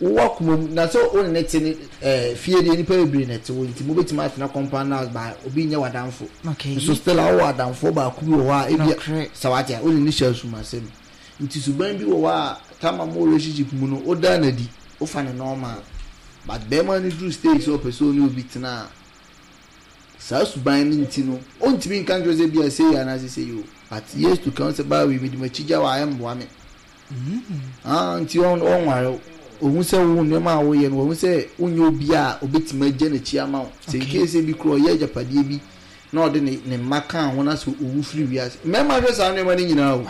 Wowɔ akoma mu na sɛ wo ne no te ne eh, fie deɛ nnipa bebree na ɛte hɔ nti mobɛtumi atena compound house ba obi nyɛ w'adamfo. Okay. Nso still a wowɔ adamfoɔ baako bi wɔ hɔ a ebia Nokorɛ. sɛ wate a wo ne no hyɛ asumasɛm. Nti suban bi wɔ hɔ a time a mowɔ relationship mu no wodaa no adi, wofa no normal. But bɛrima no duru stage sɛ ɔpɛ sɛ ɔne obi tena a, saa suban no nti no ɔntumi nka nkyerɛ wo sɛ ebia sei anaasɛ sei o. But years to come sɛ baa wei mede m'akyi gya wo a ɛmmoa me. Ah, nti ɔnware wo. Ohu sɛ wo nneɛma a woyɛ no, wahu sɛ wonyɛ obi a obetumi agya n'akyi ama wo. Sɛ in case bi koraa ɔyɛ agyapadeɛ bi na ɔde ne ne mma kaa ho na sɛ owu firi wiase. Mmarima hwɛ saa nneɛma no nyinaa o.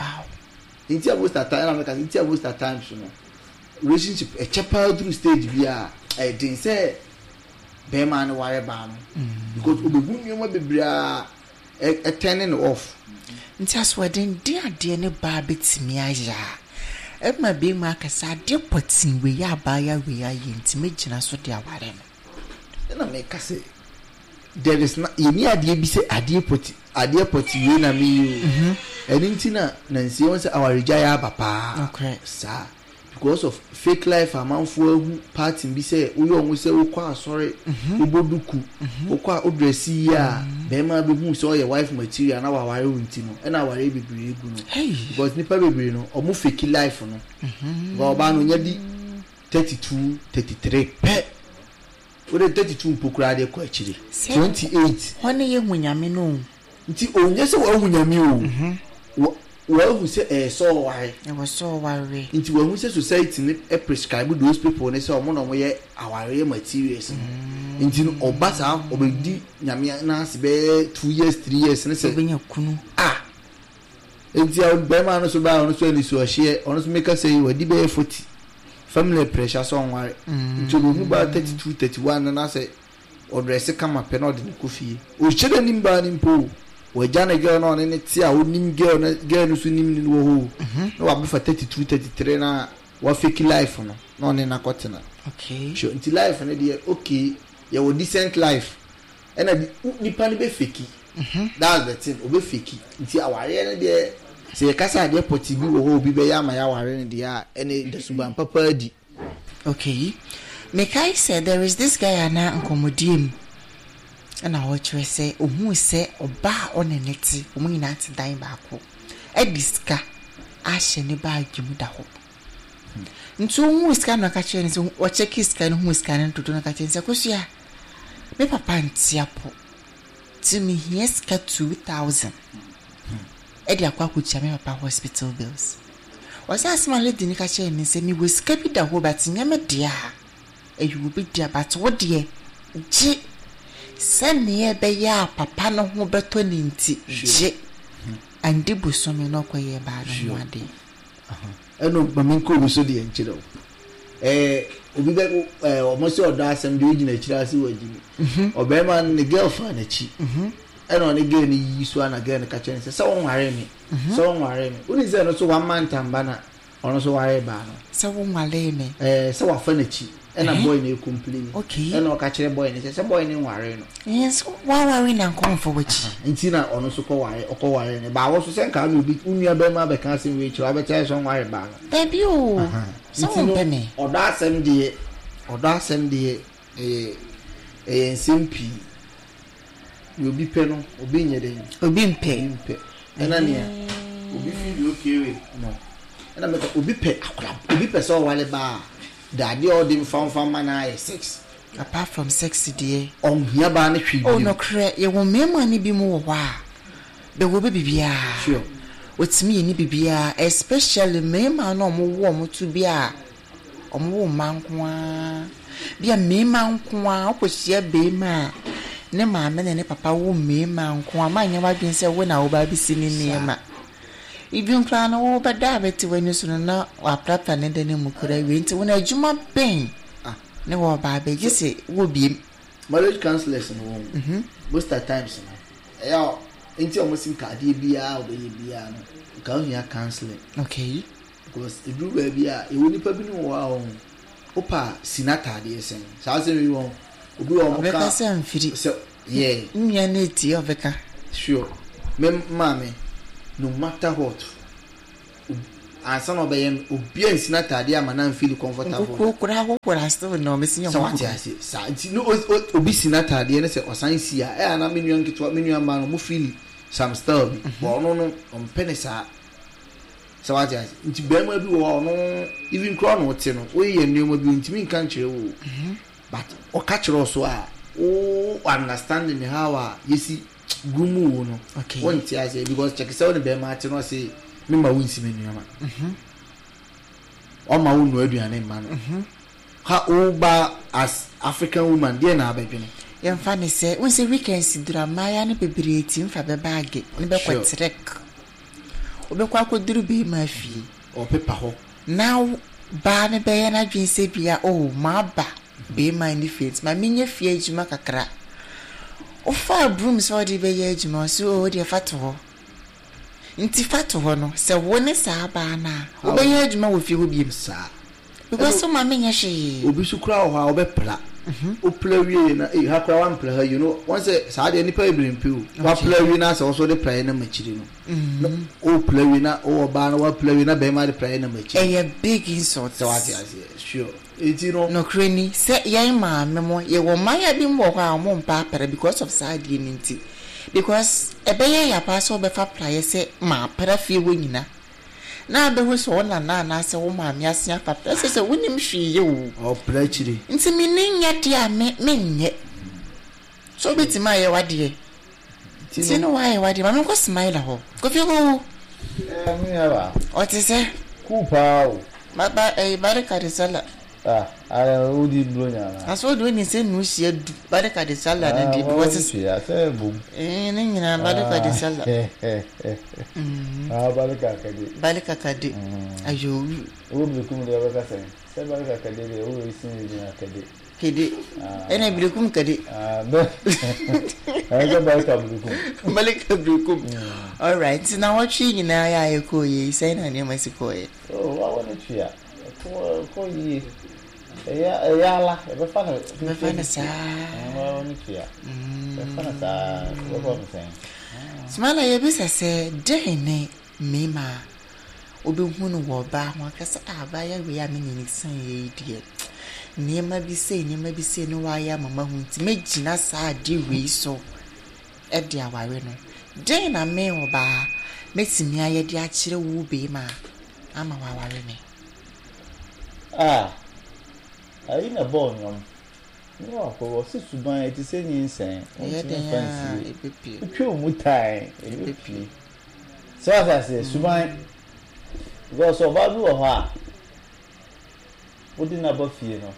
Nti a most at times, ɛna meka sɛ nti a most at times no, relationship ɛkyɛ paa duru stage bi a, ɛyɛ den sɛ bɛrima no ware baa no. Because obehu nneɛma bebree a ɛ turn no off. Nti asoɔden de adeɛ ne baa bɛtumi ayɛ a, ɛma bɛrima aka sɛ adeɛ pɔtee wei a abaayewa wei ayɛ nti mɛgyina so de aware no. Ɛna meka sɛ there is na yɛni adeɛ bi sɛ adeɛ pɔti adeɛ pɔti wei na meyɛ o. Ɛno nti na nansi wɔn sɛ awaregya yɛ aba paa. Saa because of fake life amanfoɔ ahu party bi sɛ woyɛ ɔmo sɛ wokɔ asɔre, wobɔ duku, wokɔ a wodress yie a, bɛrima bɛhu sɛ ɔyɛ wife material na waware wo nti no ɛna awareɛ bebree gu no. Because nipa bebree no ɔmo fake life no. Because ɔbaa no ɔnya di 32, 33 pɛ. Wode 32 mpo koraa deɛ kɔ akyire. 28. Hɔ ne yɛhu Nyame no o. Nti ɔnyɛ sɛ wahu Nyame o. Wahu sɛ ɛyɛ sɛ ɔware. Ɛwɔ sɛ ɔware. Nti wahu sɛ society no prescribe those people no sɛ ɔmo na ɔmo yɛ awareɛ materials no. Nti no ɔba saa ɔbɛdi Nyame n'ase bɛyɛ 2 years, 3 years ne sɛ. Ɔbɛnya kunu. Ah! Nti a bɛrima no so baa ɔno so ani so ɔhyeɛ ɔno so meka sɛ yi wadi bɛyɛ 40 family pressure sɛ ɔnware. Nti ɔbɛhu baa 32, 31 no na sɛ ɔdress kama pɛ na ɔde no kɔ fie. Ɔhyɛ n'anim baa no mpo o. Wagya ne girl na ɔne ne te a ɔnim girl no, girl no so nim no wɔ hɔ o. Na wabɛfa 32, 33 na wafake life no na ɔne no akɔtena. Sure, nti life no deɛ okay, yɛwɔ decent life ɛna nipa no bɛfake. That's the thing, ɔbɛfake. Nti awareɛ no deɛ sɛ yɛka sɛ adeɛ pɔtee bi wɔ hɔ a obi bɛyɛ ama yɛaware no deɛ a, ɛne da suban papa adi. Okay. Mekae sɛ there is this guy a na nkɔmmɔdie mu ɛna ɔkyerɛ sɛ ohuu sɛ ɔbaa a ɔne ne te, wɔn nyinaa te dan baako, ɛde sika ahyɛ ne baage mu da hɔ. Nti ohuu sika na ɔka kyerɛ no sɛ ɔkyɛke sika no huu sika no dodo na ɔka kyerɛ no sɛ Kosua, me papa nte apɔ nti mehia sika 2000 ɛde akɔ akɔtua me papa hospital bills. Ɔsɛ asɛm a lady no ka kyerɛ no sɛ mewɔ sika bi da hɔ but nyɛ me dea a ɛyɛ obi dea but wo deɛ gye sɛnea ɛbɛyɛ a papa no ho bɛtɔ ne nti gye. Andi bosome na ɔkɔyɛɛ baa no ho adeɛ. Ɛno ma menkɔ obi so deɛ nkyerɛ wo. Ɛɛ obi bɛ ɛɛ ɔmo sɛ ɔdɔ asɛm deɛ ogyina akyire ase wɔ agyimi. Ɔbɛrima no ne girl fa n'akyi. Ɛna ɔne girl no yiyi so a na girl no ka kyerɛ no sɛ sɛ wonwaree me. Sɛ wonwaree me. Wonim sɛ ɛno so one month amba na ɔno nso waree baa no. Sɛ wonwaree me. Ɛɛ sɛ wafa n'akyi. Ɛna boy no ɛcomplaini. Okay. Ɛna ɔka kyerɛ boy no sɛ sɛ boy no nwaree no. Ɛɛ sɛ woaware na nka ɔmfa w'akyi. Nti na ɔno nso kɔ ware ɔkɔ ware no. Baa wɔ so sɛ nka na obi wo nua bɛrima abɛka asɛm wei kyerɛ wo abɛkyerɛ sɛ ɔnware baa no. Dabi o. Sɛ wompɛ me. Ɔdɔ asɛm deɛ ɔdɔ asɛm deɛ ɛyɛ ɛyɛ nsɛm pii. Nea obi pɛ no obi nyɛ dɛn. Obi mpɛ. Obi mpɛ. Ɛna nea obi feel okay with no. Ɛna mɛka obi pɛ akora obi pɛ sɛ ɔware baa a adeɛ a ɔde mfamfa ma no ayɛ sex. Apart from sex deɛ. Ɔnhia baa no hwee Oh bio. Nokorɛ yɛwɔ mmarima no bi mu wɔ hɔ a bɛwɔ bɛ biribiara. Wɔtumi yɛ ne biribiara especially mmarima no a wɔwo wɔn to bi a wɔwo mma nko ara. Bi a mmarima nko ara wokɔhyia barima a ne maame ne ne papa wo mmarima nko ara ma nyɛ w'adwene sɛ wo na woba abɛsi ne nneɛma. Even koraa no wobɛda a bɛte w'ani so no na waprapra ne dan mu koraa awie nti wo no adwuma bɛn ne wɔba abɛgye sɛ wɔ biem. Marriage counselors no wɔn most at times no ɛyɛ a nti a wɔn si nka adeɛ biara a wɔbɛyɛ biara no nka ohia counseling. Because eduru baabi a yɛwɔ nipa bi no wɔ hɔ a wɔn wopa si n'ataadeɛ sɛn saa asɛm yi wɔn obi wɔ wɔn ka Ɔbɛka sɛ mfiri. Sɛ yeah. Nnua no etie ɔbɛka. Sure, me maame, no matter what. ansa na ɔbɛyɛ no, obi ansi n'ataadeɛ ama no amfeeli comfortable da. Nkukuo koraa hohoro a still na ɔbɛsi Sɛ wate aseɛ? Saa nti no obi si n'ataadeɛ ne sɛ ɔsan si a, ɛyɛ a na me nua nketewa, me nua mmaa no, wɔn feeli some style bi. But ɔno no, ɔmpɛ ne saa. Sɛ wate aseɛ? Nti barima bi wɔ hɔ a ɔno even koraa na ɔte no, woyɛ nneɛma bi ɔntumi nka nkyerɛ wo o. But ɔka kyerɛ wo so a, wo understanding how a yɛsi groom wo no, wonte aseɛ because kyɛke sɛ wo ne barima ate no ɔse mema wo nsi me nneɛma. Ɔma wo nnoa aduane mma no. Ha wo ba as African woman deɛ na abɛdwene? Yɛmfa no sɛ, wohu sɛ weekends duru a mmaayewa no bebree tumi fa bɛ baage ne bɛkɔ trek. Wobɛkɔ akɔduru barima fie. Ɔpepa hɔ. Na baa no bɛyɛ n'adwene sɛ bia oh maba barima no fie nti ma menyɛ fie adwuma kakra. Wofaa broom sɛ wode bɛyɛ adwuma ɔse oh wodeɛ fa to hɔ. Nti fa to hɔ no sɛ wo ne saa baa no a wobɛyɛ adwuma wɔ fie hɔ biom? Saa. Because wo maame nyɛ hwee. Obi so koraa wɔ hɔ a ɔbɛpra. Wopra wie na ei ha koraa wampra ha yie no wɔn sɛ saa deɛ nipa bebree mpɛ o. Wapra wie na sɛ wɔso de praeɛ nam akyiri no. Na wopra wie na wowɔ ɔbaa na wapra wie na bɛrima de praeɛ nam akyiri. Ɛyɛ big insult. Sɛ wate aseɛ sure eti no. Nokorɛ ni sɛ yɛn maame mo yɛwɔ mmayewa bi mo wɔ hɔ a wɔn mpɛ apra because of saa adeɛ no nti because ɛbɛyɛ ya paa sɛ wobɛfa praeɛ sɛ mapra fie hɔ nyina na abɛhu sɛ wo nana anaasɛ wo maame asen afa pɛ sɛ sɛ wonim hwee yɛ o. Ɔpra akyire. Nti me ni nyɛ deɛ a me menyɛ. So wobɛtumi ayɛ w'adeɛ. Nti no wayɛ w'adeɛ. Ma menkɔ Smiler hɔ. Kofi Koo. Ɛɛ me nua baa. Ɔte sɛ. Cool paa o. Ba ba ɛyi barika de sala. Ah ayɛ wodi bronya anaa. Na so wode wonim sɛ nuhyia du barika de sala no deɛ bi wɔ sisi. Ah sɛ bom. Eh ne nyinaa barika de sala. Ah barika kade. Barika kade. Ayo. Wo birikum deɛ wobɛka sɛn? Sɛ barika kade deɛ wo esi ne din akade. Kede. Ɛna birikum kade. Ah bɛ. Ɛsɛ barika birikum. Barika birikum. Alright nti na wɔtwe nyinaa yɛ a yɛkɔɔ yɛ yi sɛn na nneɛma si kɔɔ yɛ. Oh wawo ne tua. Ɛkɔ ɛkɔ yie. Ɛyɛ ɛyɛ ala yɛbɛfa no. Yɛbɛfa no saa. Ɛɛ ne tua. Yɛbɛfa no saa yɛbɛfa no sɛn. Sumala yɛbisa sɛ dɛn ne mmarima a wobɛhu no wɔ ɔbaa ho aka sɛ ah abaayewa wei a me ne no san yɛ yi deɛ nneɛma bi sei nneɛma bi sei na wayɛ ama mahu nti mɛgyina saa adeɛ wei so de aware no. Dɛn na me ɔbaa mɛtumi ayɛ de akyerɛ wo barima ama waware me? Ah, ayi na ɛbɔɔ nnwom. Ne wakɔ ɔse suban ɛte sɛ nyinsɛn, wontumi mfa nsie. Wotwa wo mu tan, ɛbɛpue. Sɛ wate aseɛ, suban. Because ɔbaa bi wɔ hɔ a, wode no aba fie no,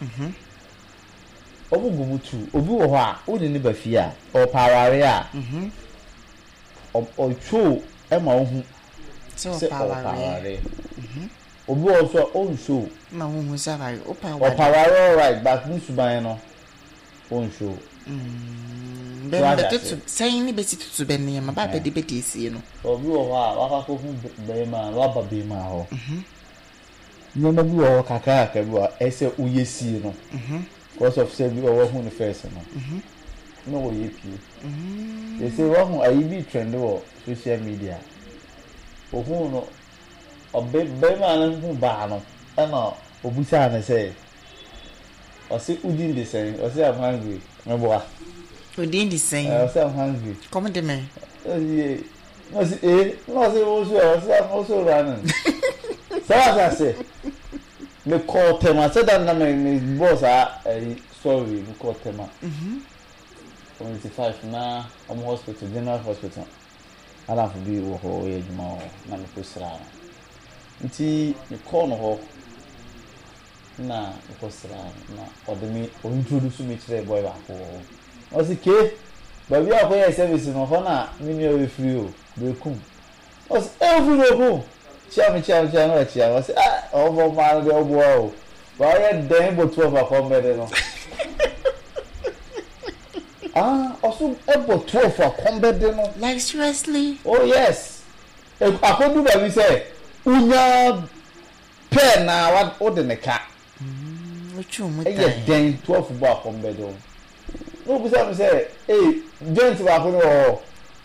wɔn gu mu tu. Obi wɔ hɔ a, wode no ba fie a, ɔpɛ awareɛ a, ɔtwo ma wohu sɛ ɔpɛ awareɛ. Obi wɔ hɔ nso a ɔnshow. Ma wohu sɛ aware wopɛ aware. Ɔpɛ aware alright but ne suban no ɔnshow. Mm, bɛ bɛtoto sɛn ne bɛsi toto bɛ nneɛma ba bɛde bɛde esie no. Obi wɔ hɔ a wakɔ akɔhu bɛrima a waba bɛrima hɔ. Nneɛma bi wɔ hɔ kakra kakra bi wɔ hɔ a ɛsɛ woyɛ sie no. Because of sɛ bi wɔ wahu no first no. Na ɔyɛ pie. Yɛsɛ wahu ayi bi trend wɔ social media. Ohuu no ɔbe barima no hu baa no ɛna obisaa no sɛ, ɔse wo din de sɛn? Ɔse I'm hungry. Meboa. Wo din de sɛn? Ɛɛ ɔse I'm hungry. Kɔm de me. Ɔse yee. Na ɔse ee. Na ɔse wo nso ɛ? Ɔse I'm also running. Sɛ wate ase? Me kɔɔ Tema sɛ da no na me me bɔɔ saa ɛyi story yi me kɔɔ Tema. Community 5 na ɔmo hospital general hospital. M'adamfo bi wɔ hɔ, ɔyɛ adwuma wɔ hɔ, na mekɔsraa no. Nti mekɔɔ no hɔ na mekɔsraa no na ɔde me ɔ introduce me kyerɛɛ boy baako wɔ hɔ. Na ɔse Kay, baabi a wokɔyɛɛ service no, hɔ na me nua wei firi o, Berekum. Na ɔse eh wofiri Berekum? Kyia me, kyia me, kyia me, na wakyia me. Ɔse ah ɔbɔ mmaa no deɛ woboa o, ba ɔyɛ dɛn bɔ 12 akɔmmɛde no. Ah ɔso bɔ 12 a kɔm bɛde no. Like seriously? Oh yes akɔdu baabi sɛ wonya pɛɛ na wode ne ka. Wotwe wo mu tan. Ɛyɛ dɛn 12 bɔ a kɔm bɛde wo. Na obisa me sɛ ei joint baako no wɔ hɔ?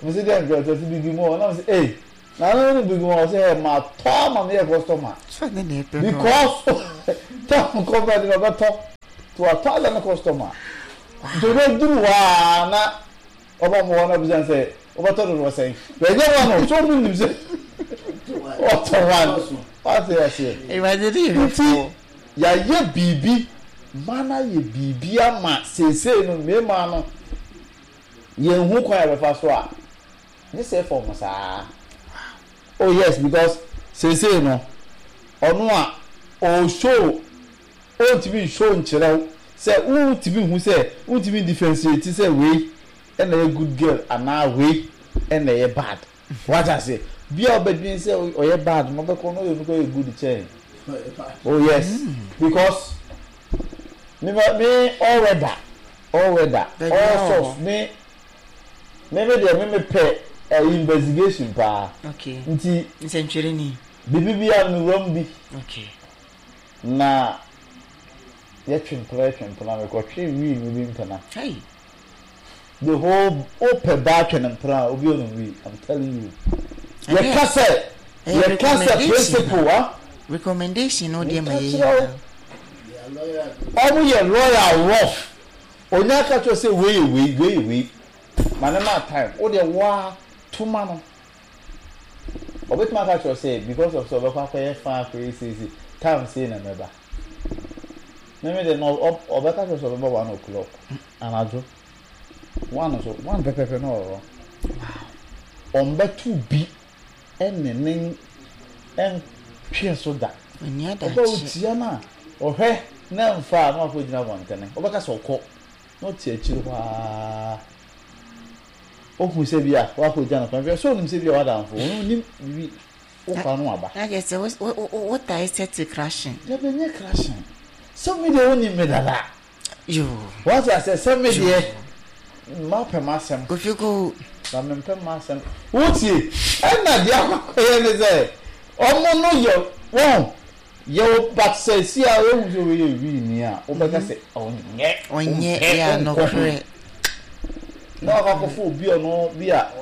Mese dɛn joint? Ɔse bibi mu wɔ hɔ. Na mese ei. Na no ne bi gu hɔ sɛ ɛ ma tɔ ama me yɛ customer. Sɛ ne na ɛpɛ no. Because tam kɔfɛ de na ɔbɛtɔ to atɔ ada ne customer. Nti ɔbɛduru hɔ a na ɔba mo hɔ na ɔbisa sɛ ɔbɛtɔ dodoɔ sɛn. Bɛnyɛ wɔn no so ɔmo nim sɛ ɔtɔ wɔn. Wate aseɛ. Awurade ne yɛ Nti hwɛfoɔ. yɛayɛ biribi ma no ayɛ biribi ama seesei no mmarima no yɛnhu kwan a yɛbɛfa so a gye sɛ fam saa. Oh yes because seesei no ɔno a ɔreshow ɔntumi nshow nkyerɛ wo sɛ wontumi nhu sɛ wontumi ndifferentiate sɛ wei na ɛyɛ good girl anaa wei na ɛyɛ bad. Wate aseɛ? Bi a wobɛdwene sɛ ɔyɛ bad no wobɛkɔ no ɔyɛ no kɔ yɛ good kyɛn. Oh yes because me me all weather all weather all source me Me me deɛ me me pɛ ɛyi investigation paa. Okay. Nti. Nsɛntwerɛni. Bibi bi a me wura mu bi. Okay. Na yɛ twe mpena yɛ twe mpena me kɔ twe wii no bi mpena. Hey. The whole o pɛ baa twɛ ne mpena obi onum wii I'm telling you. Yɛ ka sɛ yɛ ka sɛ principle ah. Recommendation no deɛ ma yɛ yɛ. Ɔmo yɛ loyal rough. Onya ka kyerɛ wo sɛ wei yɛ wei, wei yɛ wei. Ma no ma time. Wo deɛ wo ara to ma no. Ɔbɛtumi aka akyerɛ wo sɛ because of sɛ ɔbɛkɔ akɔyɛ fine akɔyɛ sei sei, time sei na mɛba. Me me deɛ no ɔbɛka kyerɛ wo sɛ ɔbɛba 1 o'clock anadwo. 1 so, 1 pɛpɛpɛ na ɔwɔ hɔ. Ɔmbɛto bi ne ne ntwe so da. Ɔba otia no a, ɔhwɛ na ɛmfa a na wakɔgyina abɔntene. Wobɛka sɛ ɔkɔ na ɔte akyiri hɔ ara. Ohu sɛ bi a wakɔgya no kwan. Hwɛ sɛ onim sɛ bi a w'adamfo, ɔno onim biribi wokɔ ano aba. Na kyerɛ sɛ wotae sɛ te crashing. Dabi ɛnyɛ crashing. Sɛ me deɛ wonim me dada. Yoo. Wate aseɛ sɛ me deɛ mapɛ m'asɛm. Kofi ko. Na mempɛ m'asɛm. Wotie? Ɛna deɛ akɔyɛ ne sɛ ɔmo no yɛ wɔn yɛ wo but sɛ si a wohu sɛ wei yɛ wii ni a wobɛka sɛ ɔnyɛ Ɔnyɛ yɛ nokorɛ. Na wakɔ akɔfo obi ɔno bi a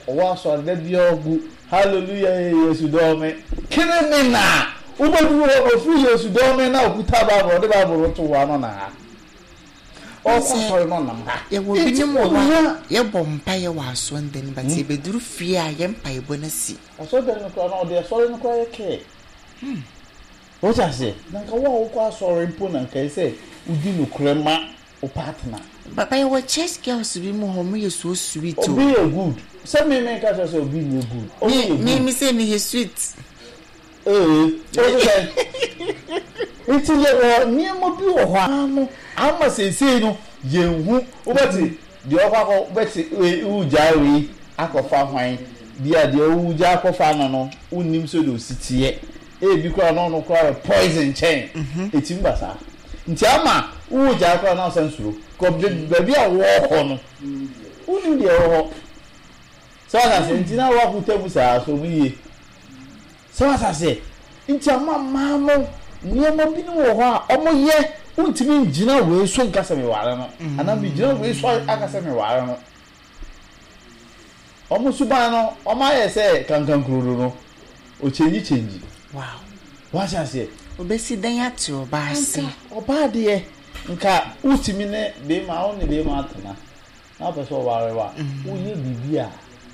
ɔwɔ asɔre da bi a ɔgu hallelujah Yesu dɔ me criminal wobɛduru hɔ no ɔfiri Yesu dɔ me na ɔkuta Bible ɔde Bible no to hɔ ano na ha ɔkɔ asɔre no ɔnam ha. Yɛwɔ binom wɔ hɔ a yɛbɔ mpaeɛ wɔ asɔredan mu but yɛbɛduru fie a yɛn mpaebɔ no asi. Asɔredan no koraa na ɔde asɔre no koraa yɛ kɛɛ. Wote aseɛ? Na nka wo a wokɔ asɔre mpo na nka ɛsɛ sɛ wodi nokorɛ ma wo partner. Papa yɛwɔ church girls bi mu hɔ ɔmo yɛ so sweet o. Obi yɛ good sɛ me me nka kyerɛ sɛ obi nyɛ good ɔmo yɛ good. Me me sɛ me yɛ sweet. Ee o sɛ nti yɛ wɔ nneɛma bi wɔ hɔ a no ama seesei no yɛn hu wobɛte deɛ ɔkɔ akɔ wobɛte wei wogyae wei akɔfa hwan bi a deɛ wogya akɔfa no no wonnim sɛdeɛ osi teɛ. Ebi koraa na ɔno koraa yɛ poison kyɛn. Ɛtumi ba saa. Nti ama wowɔ gyae koraa na wosan suro. Kɔ baabi a wɔrekɔ no, wonnim deɛ ɛwɔ hɔ. Sɛ wate aseɛ? Nti na woakota mu saa, so mu yie. Sɛ wate aseɛ? Nti ama mmaa no nneɛma binom wɔ hɔ a wɔyɛ, wontumi ngyina wei so nka sɛ meware no, anaa megyina wei so aka sɛ meware no. Wɔn suban no, wɔn ayɛ sɛ kankankurodo no, ɔkyɛngyi kyɛngyi. Wow. Wate aseɛ? Obesi dɛn ate ɔbaa ase? Nka ɔbaa deɛ, nka wotumi ne bɛrima, wo ne bɛrima atena, na wopɛ sɛ ɔware wo a, woyɛ biribi a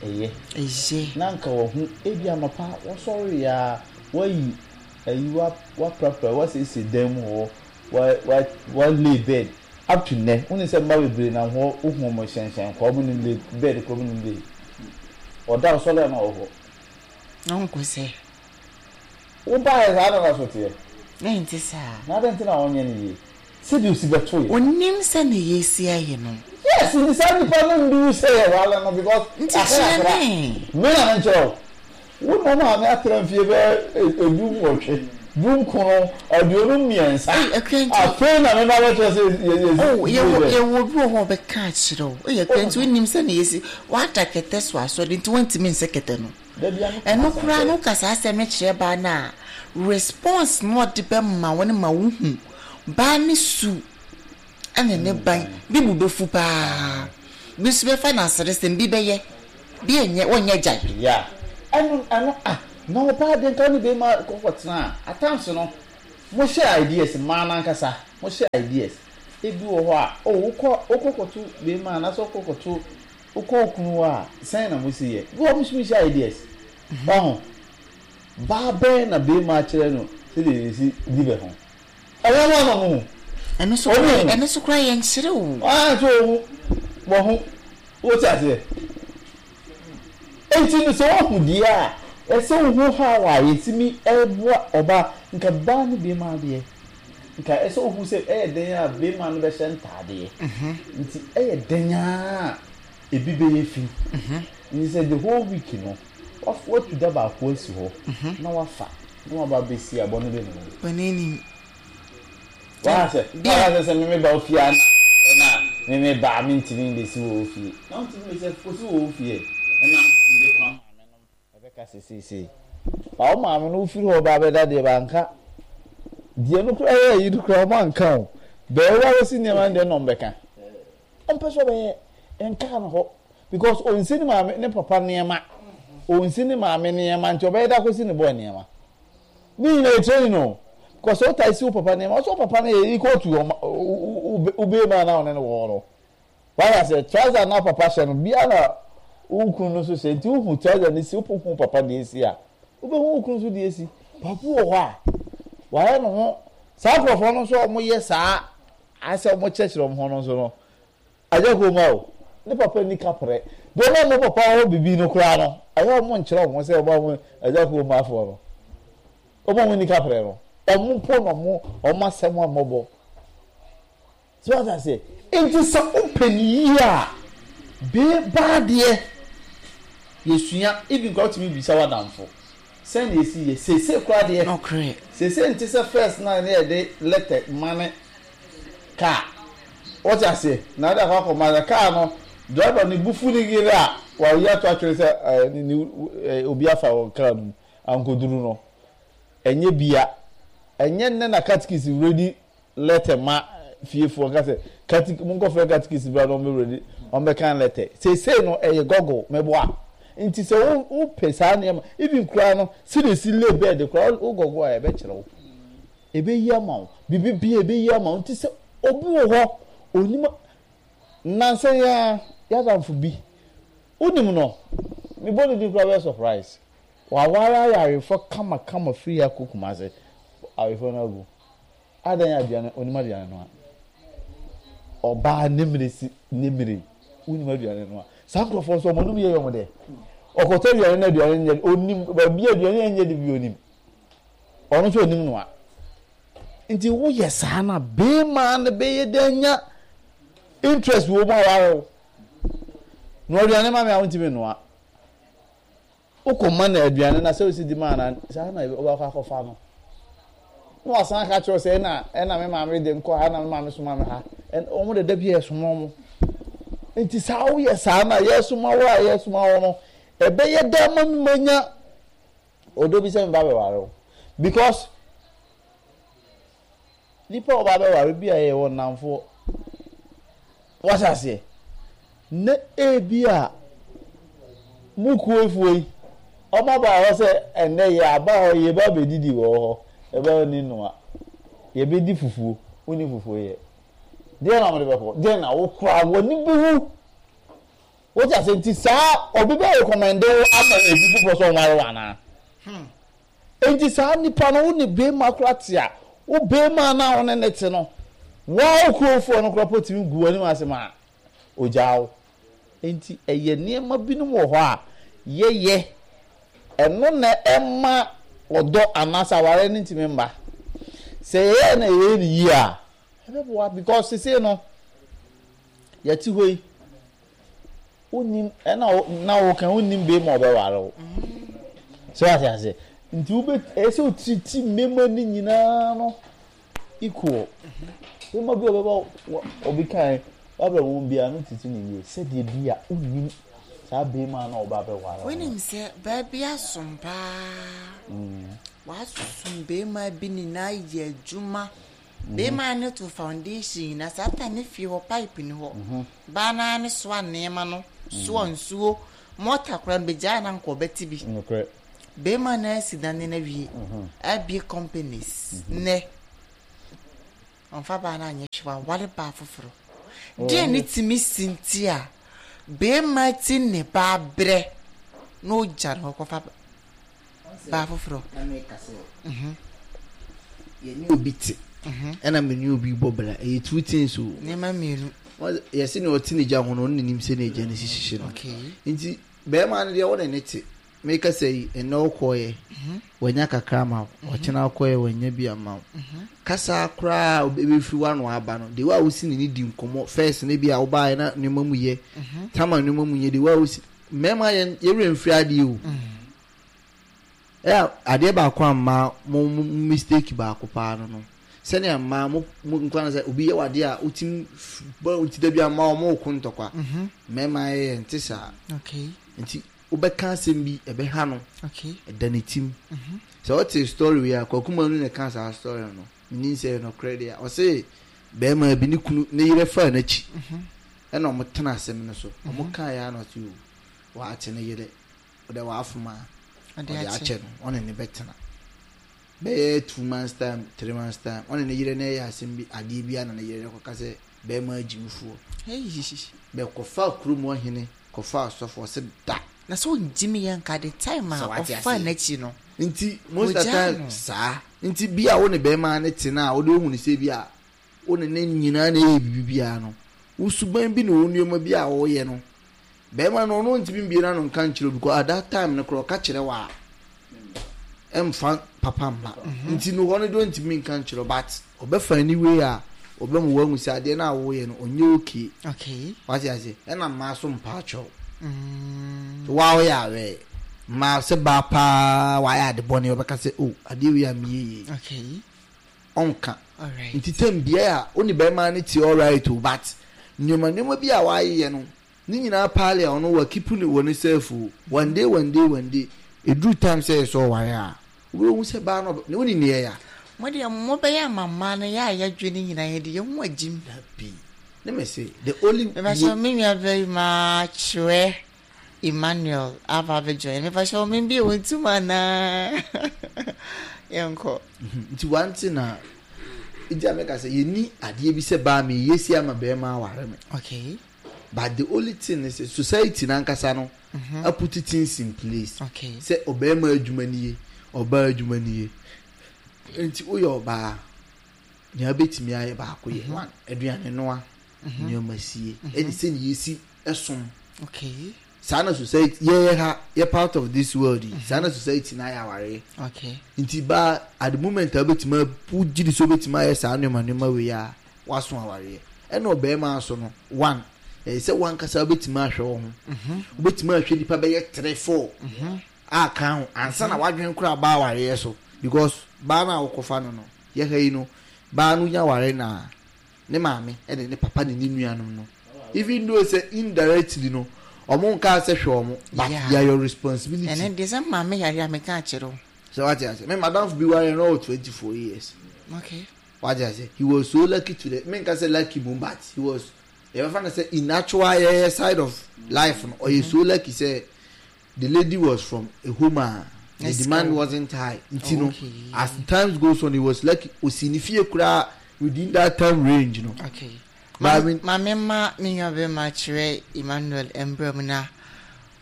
ɛyɛ. Ɛyɛ. Na nka wahu, ebi anɔpa wɔsɔreeɛ a, woayi ayi, woaprapra, woasiesie dan mu hɔ, wa wa wa lay bed. Up to nnɛ, wonim sɛ mma bebree nam hɔ, wohu wɔn hyɛnhyɛn kwa, wɔn nim lay bed koraa wɔn nim lay. Ɔda ɔsɔre a na ɔwɔ hɔ. Na ɔnkɔ sɛ. Wobaeɛ saa na na so teɛ. Na ɛnte saa. Na adɛn nti na ɔnyɛ no yie? Sɛdeɛ osi bɛto yɛ. Ɔnnim sɛdeɛ yɛsi ayɛ no. Yes, nti saa nipa no nduru sɛ yɛware no because Nti kyerɛ me. Me na menkyerɛ wo. Wo ne wo maame atra mfie bɛyɛ 18, 19, 23. Ei, Akua nti. Afei na meba bɛkyerɛ sɛ yɛsi Oh, fie yɛwɔ dɛ. yɛwɔ obi wɔ hɔ a ɔbɛka akyerɛ wo. Ei, Akua nti wonim sɛnea yɛsi woada kɛtɛ so asɔre nti wontumi nsɛ kɛtɛ no. Da biara meka Ɛno m'asɛm koraa sɛ. no woka saa asɛm no kyerɛ baa no a, response no a ɔde bɛma wo no ma wohu baa no su ne ne ban. Bi bo bɛfu paa, bi nso bɛfa no aseresɛm, bi bɛyɛ, bi ɛnyɛ, wɔnyɛ gyae. Yeah. Ɛno ɛno ah na ɔbaa deɛ nka ne bɛrima kɔkɔ tena a at times no mo share ideas mmaa no ankasa mo share ideas ebi wɔ hɔ a oh wokɔ wokɔ kɔto bɛrima anaasɛ wokɔ kɔto wokɔ wo kunu hɔ a sɛn na mo si yɛ bi wɔ hɔ mo nso mo share ideas waho baa bɛn na bɛrima akyerɛ no sɛdeɛ yɛsi di bɛ ho ɛnyɛ mo ama mo hu Ɛno nso wɔn koraa hu ɛno nso koraa yɛnkyerɛ o. ah nso wɔn hu wɔn ho wote aseɛ. Enti no sɛ woahu deɛ a ɛsɛ wohu how a yɛtumi boa ɔbaa nka baa ne bema adeɛ nka ɛsɛ wohu sɛ ɛyɛ dɛn a bema no bɛhyɛ ntaadeɛ nti ɛyɛ dɛn a ebi bɛyɛ fi nti sɛ the whole week no watu da baako asi hɔ na wafa na waba abɛsi a bɔne bɛ ne mu. Bɔne nim. Waka sɛ, waka sɛ sɛ me meba wo fie a na ɛna me meba a mentumi mbɛsi wɔ wo fie. Na wontumi mbɛsi a kɔsi wɔ wo fie ɛna mede kwan maame nom ɛbɛka sɛ seisei. Ba wo maame no wofiri hɔ ba bɛda deɛ banka. Deɛ no koraa yɛ ayi no koraa ɔmo anka o. Bɛɛ wo abɛsi nneɛma no deɛ na ɔmo bɛka. Ɔmpɛ sɛ ɔbɛyɛ nkaa no hɔ because ɔnsi ne maame ne papa nneɛma. Ɔnsi ne maame nneɛma nti ɔbɛyɛ da akɔsi ne boy nneɛma. Ne nyinaa yɛ training o. Because sɛ wotaa si wo papa nneɛma, ɔsɛ wo papa no yɛ equal to wo bɛrima na ɔne no wɔ hɔ no. Wate aseɛ? Trouser na papa hyɛ no, bia na wo kunu no nso hyɛ. Nti wohu trouser no si, wohu wo papa deɛ si a, wobɛhu wo kunu nso deɛ si. Papa wɔ hɔ a, wayɛ ne ho, saa nkurɔfoɔ no nso a wɔyɛ saa, ayɛ sɛ wɔkyerɛkyerɛ wɔn ho no nso no, Agya Kumaa o, ne papa nni kaprɛ. Deɛ ɔma wɔn papa hɔ bibi no koraa no, ɛyɛ wɔn nkyerɛ wɔn sɛ wɔn a wɔn Agya Kumaafoɔ no, wɔn a wɔn nni kaprɛ no, wɔn mpo na wɔn wɔn asɛm a mmɔbɔ. So wate aseɛ? Nti sɛ wopɛ ne yie a, bee baa deɛ yɛsua, even koraa wotumi bisa w'adamfo sɛn na yɛsi yɛ. Seesei koraa deɛ, Nokorɛ. seesei nte sɛ first no a na yɛde letter mane car. Wote aseɛ? Na wode akɔ akɔma na car no, driver no bo fu ne yere a, wayi ato atwene sɛ ɛɛ ne ne ɛɛ obi afa wɔ car no mu ankoduru no. Ɛnyɛ bia. Ɛnyɛ nnɛ na catechies ready letter ma fiefoɔ nka sɛ catechi monkɔfrɛ catechies bra na wɔn ready wɔn letter. Seesei no ɛyɛ goggle meboa. Nti sɛ wo wopɛ saa nneɛma even koraa no sɛdeɛ esi lay bed koraa wo goggle a ɛbɛkyerɛ wo. Ɛbɛyi ama wo. Biribi biara ɛbɛyi ama wo. Nti sɛ obi wɔ hɔ, ɔnim nnansa yi ara, y'adamfo bi, wonim no, mebɔ ne din koraa wobɛyɛ surprise. Waware ayarefoɔ kamakama firi ha kɔ Kumasi, awarefoɔ no agu. Adɛn aduane, ɔnim aduane noa. Ɔbaa ne mmere si ne mmere, wonim aduane noa. Saa nkurɔfoɔ nso wɔn anom yɛ wɔn dɛ. Ɔkɔtɔ aduane na aduane nyɛ, ɔnim, baabi aduane nyɛ de bi ɔnim. Ɔno nso onim noa. Nti woyɛ saa na beema no bɛyɛ dɛ anya interest wɔ mu aware wo. Noa aduane ma me a wontumi nnoa. Wokɔ ma no aduane na sɛ wosi di maa na saa na wobɛkɔ akɔfa no. Na wasan aka kyerɛ sɛ ɛna ɛna me maame de nkɔ ha na me maame soma me ha. Wɔn de da bi ɛsoma wɔn. Nti saa woyɛ saa na yɛsoma wo a yɛsoma wo no ɛbɛyɛ dɛ ama me manya Ɔdɔ bi sɛ me ba bɛware wo because nipa a ɔba bɛware bi a yɛ wɔ nnamfoɔ wate aseɛ na ebi a mo kuofoɔ yi ɔmo aba hɔ sɛ ɛnɛ yɛ aba hɔ yɛ ba bɛdidi wɔ hɔ ɛbɛ ni noa yɛbɛdi fufuo wonni fufuo yɛ deɛ na ɔmo de bɛkɔ deɛ na wokora w'ani bɛwu. Wote ase? Nti saa obi bɛ recommend wo ama obi foforɔ sɛ ɔnware wo anaa? Nti saa nipa no wo ne beema koraa te a, wo beema no a wo ne no te no, woa wo kuromfoɔ no koraa po tumi gu w'anim ase ma ogyaa wo. Nti ɛyɛ nneɛma binom wɔ hɔ a yɛyɛ, ɛno na ɛma ɔdɔ anaasɛ awareɛ no ntumi mma. Sɛ yɛyɛ na yɛyɛ no yie a, ɛbɛboa because sesei no, Yɛte hɔ yi, wonnim, ɛna na woka wonnim bɛrima a ɔbɛware wo. So ate ase? Nti wobɛ ɛyɛ sɛ wotiriti mmarima no nyinaa no equal. Bɛrima bi a ɔbɛba obi kan wabɛ wɔn biara no titi ne yie sɛdeɛ bi a wonnim saa bɛrima no a ɔba abɛware wo. Wonim sɛ baa bi asom paa. Wasom bɛrima bi nyinaa yɛ adwuma. Bema no to foundation nyina saa time ne fie hɔ pipe ni hɔ baa naa ne soa nneɛma no soa nsuo. Mɔta koraa no bɛgyae a na anka ɔbɛte bi. Nokorɛ. Bɛrima no asi dane no awie, abue companies nnɛ. Ɔmfa baa no anyɛ hwee, waware baa foforɔ. Deɛ ne tumi si nti a bɛrima ti ne baa brɛ na ɔgya no hɔ kɔfa baa foforɔ. Na meka sɛ yɛne obi te ɛna me ne obi bɔ bra ɛyɛ two things o. Nneɛma mmienu. Yɛse nea ɔte ne gya ho no ɔno na nim sɛnea gya no si hyehye no. Nti bɛrima no deɛ wo ne ne te Meka sɛ yi, ɛnnɛ wokɔeɛ, wanya kakra ama wo, ɔkyena wokɔeɛ, wanya bi ama wo. Kasa koraa a ɛbɛfiri w'ano aba no, the way a wosi ne ne di nkɔmmɔ, first no bi a wobaeɛ na nneɛma mu yɛ, time a nneɛma mu nyɛ, the way a wosi, mmarima yɛn yɛwerɛ mfiri adeɛ o. Ɛyɛ adeɛ baako a mmaa mo mo mistake baako paa no no, sɛnea mmaa mo mo nkwa no sɛ obi yɛ w'adeɛ a wotim bɔ nti da bi a mmaa wɔn reko ntɔkwa, mmarima yɛ nte saa. Nti Wobɛka asɛm bi ɛbɛha no, ɛda ne tim. Sɛ wote story wei a, Kwaku Manu na ɛka saa story no. Menim sɛ ɛyɛ nokorɛ deɛ a. Ɔse bɛrima bi ne kunu ne yerɛ faa n'akyi ɛna ɔmo tena asɛm no so. Ɔmo kaeɛ ara na ɔse o, waakye ne yerɛ, ɔdɛ waafom a, ɔde akyɛ no, ɔne ne bɛtena. Bɛyɛ 2 months time, 3 months time, ɔne ne yerɛ no ɛyɛ asɛm bi, adeɛ bi a na ne yerɛ no kɔka sɛ bɛrima agyimifoɔ. Bɛkɔfaa kurom hɔ hene kɔfaa asɔfo ɔse da. Na sɛ ɔngye me yɛ nka the time a ɔfaa n'akyi no. Nti most of the time saa nti bi a wo ne bɛɛma no te no a wode wohu no sɛ bi a wo ne ne nyinaa na ɛyɛ biribi biara no wo suban bi ne wo nneɛma bi a woyɛ no bɛɛma no ɔno ntumi mbie n'ano nka nkyerɛ wo because at that time no koraa ɔka kyerɛ wo a ɛmfa papa mma nti no hɔ no deɛ ɔntumi nka nkyerɛ wo but Ɔbɛfa any way a ɔbɛma wahu sɛ adeɛ no a woyɛ no ɔnyɛ okay. Okay. Wate aseɛ? Ɛna mmaa so mpa akyɛw. Mm. So waa woyɛ awɛ. Mmaa sɛ baa paa wayɛ ade bɔne ɔbɛka sɛ oh adeɛ wei a meyɛ yie. Okay. Ɔnka. Alright. Nti tɛm bia a wo ne bɛrima no te alright o but nneɛma nneɛma bi a wayeyɛ no ne nyinaa paale a ɔno wa keep ne wɔ ne self o. One day one day one day ɛduru time sɛ yɛ sɛ ɔware a Wobɛhu sɛ baa no ne woni neɛ ya. Mo deɛ mo bɛyɛ ama mmaa no yɛ a yɛdwene nyinaa yɛde yɛn ho agyim. Dabi ne me se the only. Mepakyɛw me nua barima Kyerɛ Emmanuel aba abɛ join mepakyɛw me bie wo ntum anaa yɛnkɔ. Nti one thing na nti a meka sɛ yɛni adeɛ bi sɛ baa meyɛ si ama bɛrima aware me. Okay. But the only thing ne sɛ society nankasa no aput things in place sɛ ɔbarima adwuma nie, ɔbaa adwuma nie. Nti woyɛ ɔbaa, nea wobɛtumi ayɛ baako yɛ one, aduane noa, nneɛma sie, ɛne sɛnea yɛsi som. Saa na society yɛyɛ ha yɛ part of this world yi, saa na society no ayɛ awareɛ. Nti baa at the moment a wobɛtumi wogye di sɛ wobɛtumi ayɛ saa nneɛma nneɛma wei a, W'aso awareɛ. Ɛna ɔbarima nso no, one, ɛyɛ sɛ w'ankasa wobɛtumi ahwɛ wo ho. Wobɛtumi ahwɛ nipa bɛyɛ three, four a ka ho ansa na w'adwene koraa ba awareɛ so. Because baa no a wokɔfa no no, yɛ ha yi no, baa no nya ware no a, ne maame ne ne papa ne ne nuanom no, even though sɛ indirectly no, wɔn nkaa sɛ hwɛ wɔn, but they are your responsibility. Ɛno deɛ sɛ maame yare a meka akyerɛ wo. Sɛ wate ase. Me madamfo bi ware no ɔwɔ 24 years. Okay. Wate ase? He was so lucky to the, menka sɛ lucky mmom but he was, yɛbɛfa no sɛ in actual yɛyɛ side of life no, ɔyɛ so lucky sɛ the lady was from a home a the demand wasn't high. Nti no, as times goes on, he was lucky, osi ne fie koraa within that time range no. Okay. Ma me ma me nua bɛma kyerɛ Emmanuel mbrɛ mu na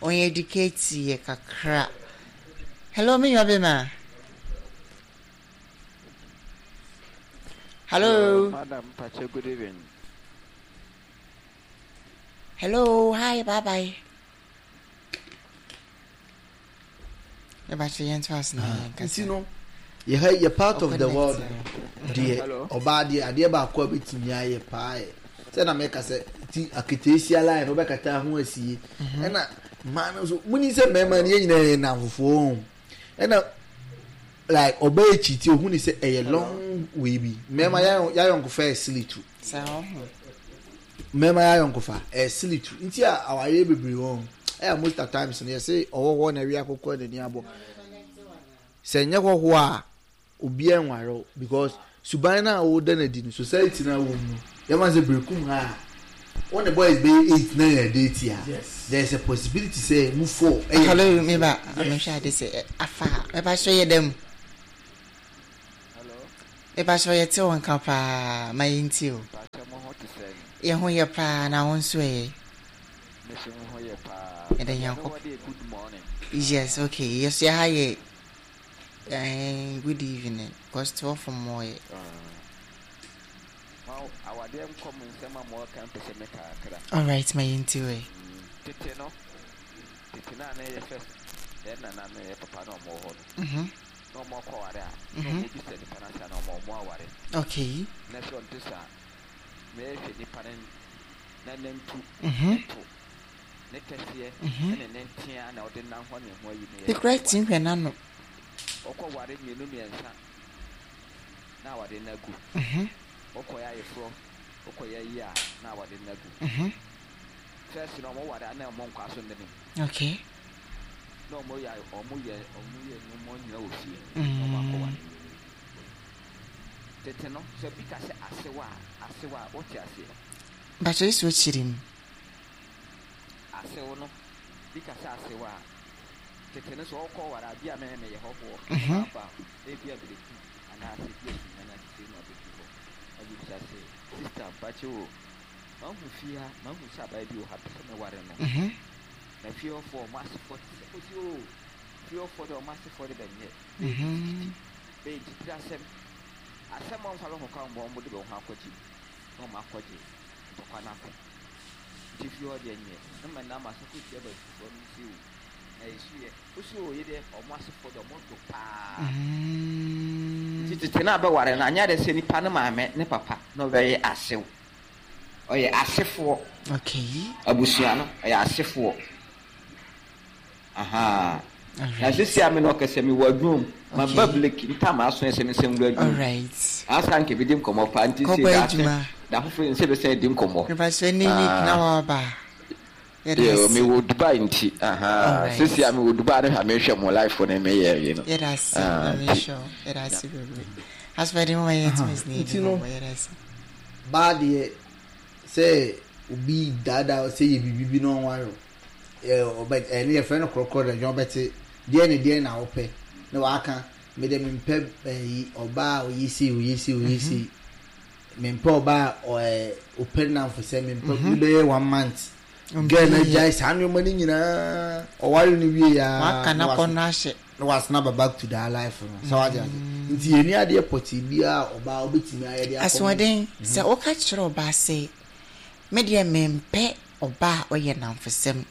ɔn educate yɛ kakra. Hello me nua bɛma. Hello. Hello, madam Pache, good evening. Hello, hi, bye bye. Nti no yɛ yɛ part of the world no deɛ ɔbaa deɛ adeɛ baako a bɛtumi ayɛ paa yɛ sɛ na mɛka sɛ ti aketeesia line no wobɛkata ho asie ɛna mmaa no nso muni sɛ mmarima no yɛn nyinaa yɛ nnamfofoɔ ho ɛna Like ɔbaa akyi ti ohun ni sɛ ɛyɛ long way bi. Mmarima mhm. yayɔnkofa yɛ silitu. Mmarima yayɔnkofa ɛyɛ silitu. Nti a awareɛ bebree wɔn ɛyɛ most of times no yɛsɛ ɔwɔhɔ na ɛwi akokɔ n'ani abɔ. Sɛ nyɛ hɔhoɔ a obiara nware o because suban no a wɔda no adi no society no a wɔm no yɛma sɛ berekum ha a. Wo ne boys bɛyɛ 8 na yɛ date a, there is a possibility sɛ mu 4 ɛyɛ. Hello, me ba, mehwɛ ade sɛ afa, me ba so yɛ dɛm. Hello. Me ba so yɛ te wo nka paa, ma yɛ nti o. Pakyɛ mo ho te sɛn? Yɛ ho yɛ paa, na wo nso ɛ? Me so me ho yɛ paa. Yɛda Nyankopɔn. Baabi a mewɔ deɛ good morning. Yes, okay, yɛ so yɛ ha yɛ eh, good evening, cause 12 mmɔɔ yɛ. Ma awadeɛ nkɔ mo nsɛm a mo ka mpɛ sɛ meka kakra. Alright, ma yɛn ti wɛ. Tete no, tete no a na yɛ first yɛn nana no yɛ papa na ɔmo wɔ hɔ no. Na ɔmo akɔ aware a, na ɔmo bisa nipa no asa na ɔmo ɔmo aware. Okay. Na sɛ ɔnte saa, na yɛhwɛ nipa no na nantu, ne to, ne kɛseɛ, ɛne ne ntea na ɔde nam hɔ ne ho ayi no yɛ. Ekura ti nhwɛ n'ano. Ɔkɔ ware mmienu mmiɛnsa na aware no agu. Wokɔyɛ ayeforɔ, wokɔyɛ ayi a na aware no agu. First no ɔmo ware a na ɔmo nkɔ asɔndani. Okay. Na ɔmo yɛ ɔmo yɛ ɔmo yɛ nneɛma nyina wɔ fie na ɔmo akɔ ware. Tete no sɛ bi ka sɛ asew a asew a wote aseɛ. Mpakyɛ esi okyiri mu. Asew no bi ka sɛ asew a tete no sɛ ɔkɔ ware a bi a mɛ meyɛ hɔhoɔ na maba ebi a berekum anaasɛ bi a sunyani ase na ɔbɛdu hɔ na obebisa sɛ sister mpakyɛ o mahu fie ha mahu sɛ abaayewa bi wɔ ha pɛ sɛ meware no na fie hɔfoɔ ɔmo asefoɔ te sɛ osi o fie hɔfoɔ de ɔmo asefoɔ de bɛnyɛ bɛyɛ tititi bɛyɛ titiri asɛm asɛm a ɔmfa bɛ ho ka ɔmo ɔmo de bɛ ho akɔgye mu na ɔmo akɔgye ntɔkwa no ako nti fie hɔ deɛ nyɛ na ma nam asafo tia bɛnfoɔ no si o na esu yɛ osi o yɛ deɛ ɔmo asefoɔ de ɔmo do paa nti tete no abɛware no anyɛ de sɛ nipa no maame ne papa na ɔbɛyɛ asew ɔyɛ asefoɔ. Okay. Abusua no ɔyɛ asefoɔ. Aha. Na sisi a me na ɔkɛsɛ me wɔ adwuma mu. Ma ba break ntam aso ɛsɛ me sɛ nwura adwuma. Alright. Asa nka bi di nkɔmɔ paa nti sɛ da ase da foforɔ nsɛ bɛ sɛ di nkɔmɔ. Mepa sɛ ne week na waba. Yo, me wɔ Dubai nti. Aha. Sisi a me wɔ Dubai ne ha me hwɛ mo life ne me yɛ yi no. Yɛda ase. Na me hwɛ. Yɛda ase bebree. Asopɛ de mo ma yɛ tumi ne Nti no nkɔmɔ yɛda ase. Baa deɛ sɛ obi daadaa sɛ yɛ biribi bi na ɔnware o ɔbɛ ɛne yɛfrɛ no korɔkorɔ dɛ dwɔn bɛte deɛ ne deɛ na wopɛ na waka me deɛ mempɛ ɛyi ɔbaa a ɔyɛ sei ɔyɛ sei ɔyɛ sei mempɛ ɔbaa a ɔɛ ɔpɛ nnamfo sɛ mempɛ ne bɛyɛ one month girl na gyae saa nneɛma no nyinaa ɔware no wie ya waka na kɔ no ahyɛ na wasena ba back to that life no sɛ wate ase nti yɛni adeɛ pɔtee biara a ɔbaa wobɛtumi ayɛ de akɔ Asoɔden, sɛ woka kyerɛ ɔbaa sɛ, me deɛ mempɛ ɔbaa a ɔyɛ nnamfosɛm,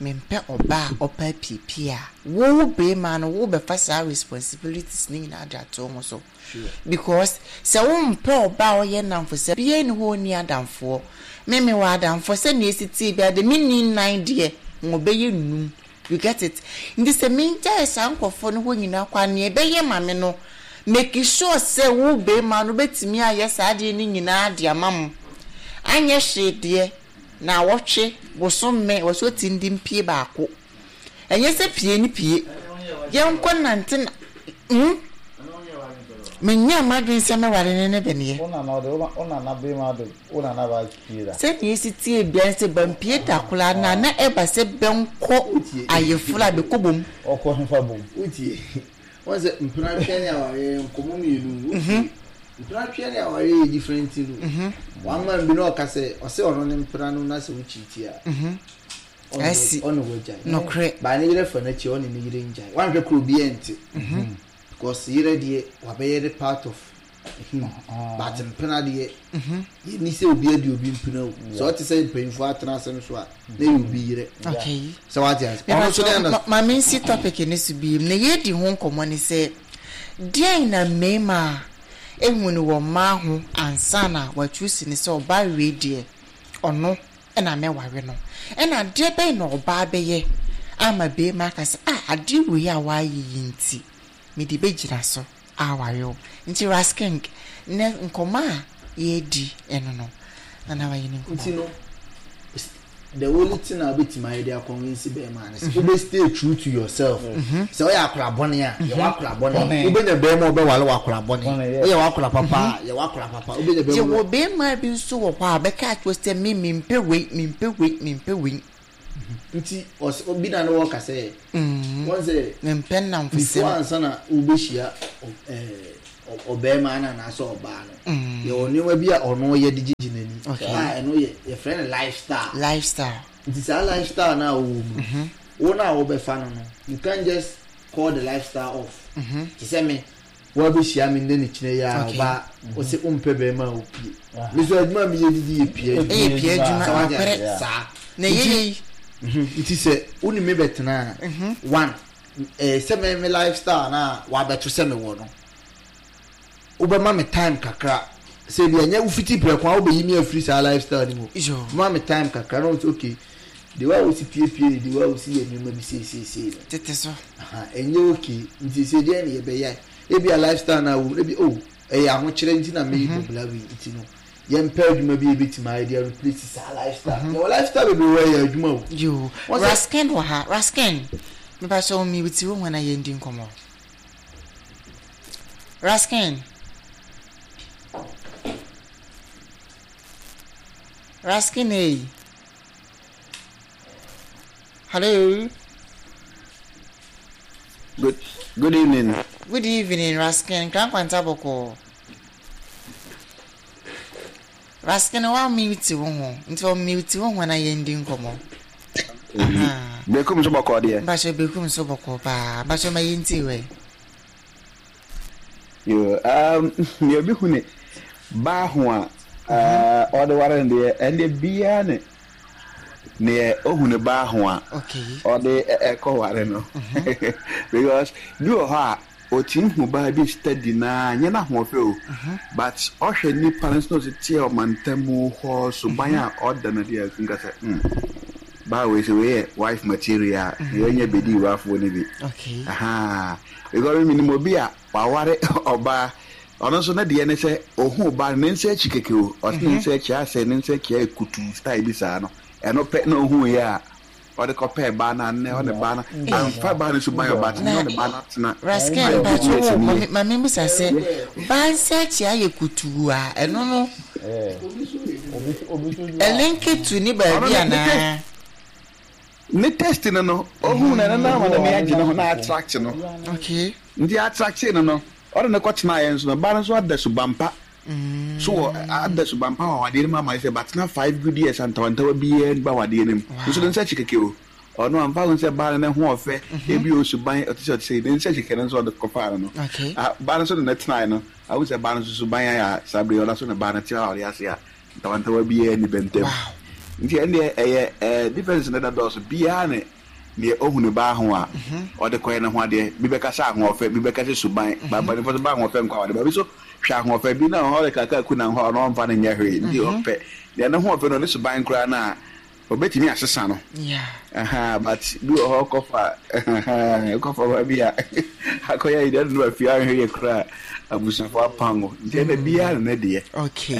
mempɛ ɔbaa a ɔpɛ apiepie a, wo barima no wobɛfa saa responsibilities no nyinaa de ato wo ho so. Because sɛ wompɛ ɔbaa a ɔyɛ nnamfosɛm, biara nni hɔ a ɔnni adamfoɔ. Me mewɔ adamfoɔ, sɛdeɛ ɛsi teɛ biara deɛ menni nnan deɛ, wɔbɛyɛ nnum. You get it? Nti sɛ mengyae saa nkorɔfoɔ no hɔ nyinaa kɔ a, nea ɛbɛyɛ ma me no, make sure sɛ wo barima no bɛtumi ayɛ saa adeɛ no nyinaa de ama mo. Anyɛ hwee deɛ, naawɔtwe, bosome, wɔ sɛ ɔtumi de mpie baako. Ɛnyɛ sɛ pie ne pie. Yɛnkɔ nante na, hmm? Menyaa m'adwene sɛ mɛware no ne bɛneɛ. Wo nana ɔde wo nana barima de wo nana ba pie da. Sɛnea esi teɛ biara ne sɛ bampie da koraa no a na ɛba sɛ bɛnkɔ ayeforo a bɛkɔ bom. Ɔkɔ hefa bom? Wotie? Wɔn sɛ mpena twɛ ne awareɛ yɛ nkɔmmɔ mmienu. Wotie? Mpena twɛ ne awareɛ yɛ different thing o. One man bi na ɔka sɛ ɔsɛ ɔno ne mpena no na sɛ wokyiti a. Asi. Ɔne wagyae. Nokorɛ. Baa ne yere fa n'akyi ɔne ne yere ngyae. Wanhwɛ koro obi ɛnte. Because yere deɛ wabɛyɛ ne part of him. But mpena deɛ yɛni sɛ obi adi obi mpena o. Sɛ ɔte sɛ mpanyinfoɔ atena asɛm so a na yɛ obi yerɛ. Okay. Sɛ wate ase. Ɔno nso ne Ma ma mensi topic no so bio. Nea yɛredi ho nkɔmmɔ ne sɛ, deɛn na mmarima a ehu no wɔ mmaa ho ansa na wɔachuusi no sɛ ɔbaa wei deɛ ɔno na mɛware no? Ɛna adeɛ bɛn na ɔbaa bɛyɛ ama barima aka sɛ ah adeɛ wei a woayɛ yi nti mede bɛgyina so aware wo? Nti Ras King, nnɛ nkɔmmɔ a yɛredi ɛno no, Nana wayɛ ne Nti nkɔmmɔ. no. The only thing a wobɛtumi ayɛ de akɔnvinsi bɛrima ne sɛ wobɛ stay true to yourself. Sɛ woyɛ akora bɔne a, yɛ w'akora bɔne. Wobɛnya bɛrima a ɔbɛware w'akora bɔne. Woyɛ w'akora papa a, yɛ w'akora papa. Wobɛnya bɛrima. Yɛwɔ bɛrima bi nso wɔ hɔ a ɔbɛka akyerɛ wo sɛ me mempɛ wei, mempɛ wei, mempɛ wei. Nti ɔs obi na ne wɔka sɛ wɔn sɛ mempɛ nnamfosɛm. Before ansa na wobɛhyia ɛɛ ɔbarima no anaasɛ ɔbaa no, yɛwɔ nneɛma bi a ɔno yɛ de gyegye n'ani a ɛno yɛ yɛfrɛ no lifestyle. Lifestyle. Nti saa lifestyle no a ɔwɔ mu no, wo no a wobɛfa no no, you can't just call the lifestyle off. Te sɛ me, woabɛhyia me nnɛ ne kyinɛ yi a ɔbaa, wo se wompɛ barima a ɔpie. Me nso adwuma a meyɛ didi yɛ pie adwuma. Ɛyɛ pie adwuma, Sɛ wate nokorɛ. aseɛ? Saa. Na ɛyɛ yei. Nti sɛ wo ne me bɛtena a, one, Eh sɛ me me lifestyle no a wabɛto sɛ mewɔ no wobɛma me time kakra sɛ bi ɛnyɛ wofiti prɛko a wobɛyi me afiri saa lifestyle no mu woma me time kakra na wɔsɛ okay de wa wosi piepie ne de wa wosi yɛ nneɛma bi seesiesie no tete so ɛnyɛ okay nti sɛ deɛ ne yɛbɛyɛ ebi a lifestyle no a wɔ ebi oh ɛyɛ ahokyerɛ nti na meyi bɔ bla wei nti no Yɛmpɛ adwuma bi a yɛbɛtumi ayɛ de a replace saa lifestyle. Mm -hmm. Yɛwɔ lifestyle bebree wɔ ɛyɛ adwuma o. Yoo, Raskin wɔ ha. Raskin, mepa kyɛ wo mute wo ho na yɛndi nkɔmmɔ. Raskin. Raskin ei. Hello. Good, good evening. Good evening, Raskin. Krankwanta bɔkɔɔ. Raskin wa mute wo ho nti ɔ mute wo ho na yɛn di nkɔmɔ. Bekum nso bɔkɔɔ deɛ. Mpakyɛ bekum nso bɔkɔɔ paa mpakyɛ ma yɛn ti wɛ. Yo, um, nea obi hu ne baa ho a ɔde ware no deɛ ɛndeɛ biara ne neɛ ohu ne baa ho a ɔde ɛkɔ ware no because bi wɔ hɔ a Otumi hu baa bi steady naa nyɛ n'ahoɔfɛ o but ɔhwɛ nipa no sɛ ɔsi teɛ ɔmantamu hɔ suban a ɔda no adi a otumi ka sɛ hmm baa wei sɛ wei yɛ wife material a na yɛnyɛ bedi wurafoɔ no bi ahaa because me menim obi a waware ɔbaa ɔno nso ne deɛ ne sɛ ohuu baa no ne nsa akyi kɛkɛ o ɔse ne nsa akyi asɛ ne nsa akyi ayɛ kutuu style bi saa no ɛno pɛ na ohuu yɛ a Ɔde kɔpɛɛ baa no a nnɛ ɔne baa no amfa baa no suban ɔba te ne ɔne baa no atena. Raskin mpakyɛ wo mame mame bisa sɛ baa nsa akyi ayɛ kutuu a ɛno no ɛlinki to ne baabi anaa. Ne test no no ohuu no ɛno no ama n'ani agye ne ho na attract no. Okay. Nti attract no no ɔde no kɔ tenaeɛ nso no baa no nso ada suban pa. So wɔ ada suban pa wɔ awadeɛ no mu ama ayɛ sɛ batena 5 good years a ntawantawa biara nni awadeɛ no mu. Nso ne nsa akyi kɛkɛ o. Ɔno amfa ho sɛ baa no ne ho ɔfɛ, ebi o suban ɔte sɛ ɔte sɛ ne nsa akyi kɛkɛ no nso ɔde kɔfaa no no. Baa no nso de no tenaeɛ no, ahu sɛ baa no nso suban ayɛ a saa bere yi ɔda so ne baa no te awadeɛ ase a ntawantawa biara nni bɛ ntam. Nti ɛndeɛ ɛyɛ difference no da dɔɔso biara ne Deɛ ɔhu ne baa ho a, ɔde kɔyɛ ne ho adeɛ. Bi bɛka sɛ ahoɔfɛ, bi bɛka sɛ suban. Ba mpanimfoɔ nso ba ahoɔfɛ nkɔ awadeɛ. Ba bi nso hwɛ ahoɔfɛ bi na ɔde kaka ku na hɔ a ɔno ɔmfa no nyɛ hwee. Nti ɔpɛ deɛ ne ho ɔfɛ no ne suban koraa no a, ɔbɛtumi asesa no. Ahaa, but bi wɔ hɔ kɔfa kɔfa ba bi a akɔyɛ ayi deɛ ɔde no ba fie anhwɛ yie koraa a abusuafoɔ apam wo. Nti ɛnna biara ne ne deɛ. Okay,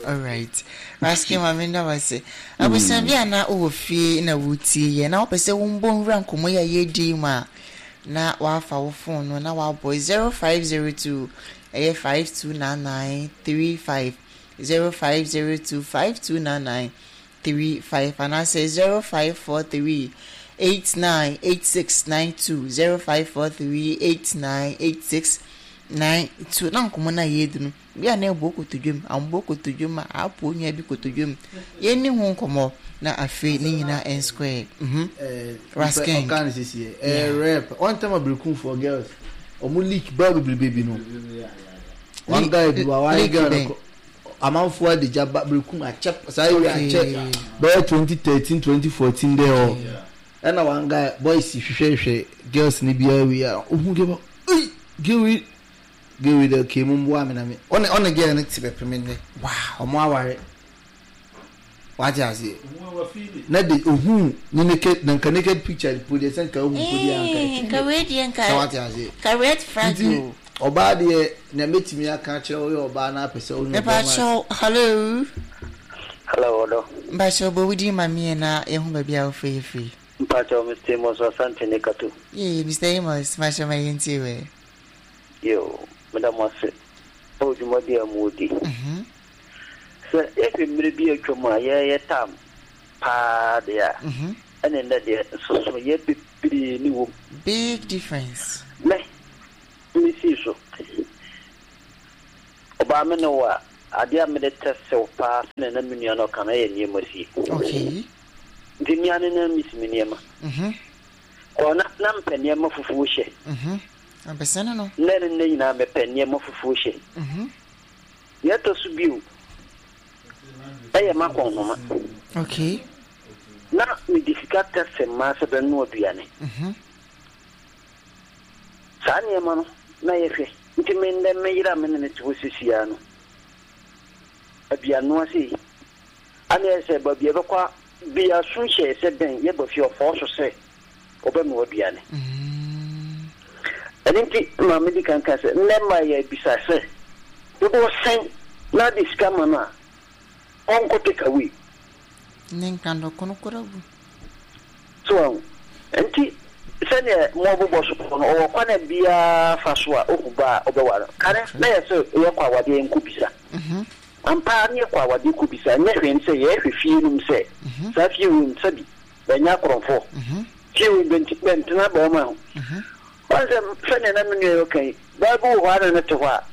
alright. Raskin maame nda wo ase. Abusua bi a na wowɔ fie na woretie yɛn na wopɛ sɛ wombɔ nwura nkɔmmɔ yi a yɛredi yi mu a, na woafa wo phone no na woabɔ 0502 ɛyɛ 529935, 0502 529935 anaasɛ 0543 898692, 0543 898692 na nkɔmmɔ no a yɛredi no Bi a na ɛbɔ kotodwe mu, ambɔ kotodwe mu a, apo onua bi kotodwe mu. Yɛnni ho nkɔmmɔ na afei ne nyinaa ɛnsquare. Mhm. Rasking. Ɔka ne sisi yɛ. Ɛyɛ rare pa. One time abirikunfoɔ girls, ɔmo leak baa bebrebe bi no. One guy bi wa ware girl no kɔ. Amanfoɔ adigya ba birikum akyɛ saa area akyɛ bɛyɛ 2013 2014 dɛ hɔ. Ɛna one guy boys hwehwɛhwɛ girls no biara wie a ohun girl ba, ei girl wei Girl yi dɛ okay mo mboa me na me ɔne ɔne girl no te bɛpem ndɛ. Wow. Ɔmo aware. Wate aseɛ. Na de ohuu ne naked na nka naked picture po deɛ sɛ nka ohu po deɛ anka Eh, nka wei deɛ nka Sɛ wate aseɛ. nka red flag Nti o. ɔbaa deɛ nea mɛtumi aka akyerɛ wo yɛ ɔbaa na apɛ sɛ wo ne Mepa ɔbɛrima kyɛw, hello. Hello ɔdɔ. Mpakyɛw bɔ wo din ma me ɛ na yɛhu baabi a wofrɛ yɛ firi. Mpakyɛw Mister Amos Asante ne Kato. Yee Mister Amos mpakyɛw ma yɛntie wo ɛ. Yoo meda mo ase wɔ dwumadi a modi. Sɛ yɛhwɛ mmere bi a atwam a yɛyɛ tam paa deɛ a, ɛne nnɛ deɛ nsonsonoeɛ bebree ne wom. Big difference. Me, mesii so. Ɔbaa me ne wo a, adeɛ a mede tɛste wo paa sɛdeɛ na me nua no ɔka no ɛyɛ nneɛma sie. Okay. Nti me ara ne na mesi me nneɛma. Kɔ na na mepɛ nneɛma fufuo hyɛ. Abɛsɛne no. Nnɛ ne nnɛ nyinaa mepɛ nneɛma fufuo hyɛ. Nea ɛtɔ so bio yɛ m'akɔnhoma. Okay. Na mede sika tɛste mmaa sɛ bɛnoa aduane. Saa nneɛma no na yɛhwɛ. Nti me nnɛ me yere a me ne no te hɔ seesei ara no, aduannoa sei, ana ɛyɛ sɛ baabi a yɛbɛkɔ a, bi aso hyɛɛ sɛ dɛn yɛba fie a ɔfɔɔ so sɛ ɔbɛnoa aduane. Ɛno nti ma medi kan ka sɛ, nnɛ mmaa yɛbisa sɛ, dodoɔ sɛn na ade sika ma no a ɔnkɔ take away? Ne nka dɔkono koraa gu. So wahu? Nti sɛdeɛ moabobɔ so no, ɔwɔ kwan a biara fa so a ohu ba a ɔbɛware no. Kane na yɛ sɛ yɛkɔ awadeɛ yɛnkɔ bisa. Ampa ara ne yɛkɔ awadeɛ kɔ bisa, nyɛ hwee ne sɛ yɛhwɛ fie no mu sɛ saa fie wei mu sɛbi bɛnyɛ akorɔmfoɔ. Fie wei bɛnti bɛntena barima ho. Wahu sɛ sɛdeɛ na me nua yi ɔka yi, baa bi wɔ hɔ a na ne te hɔ a,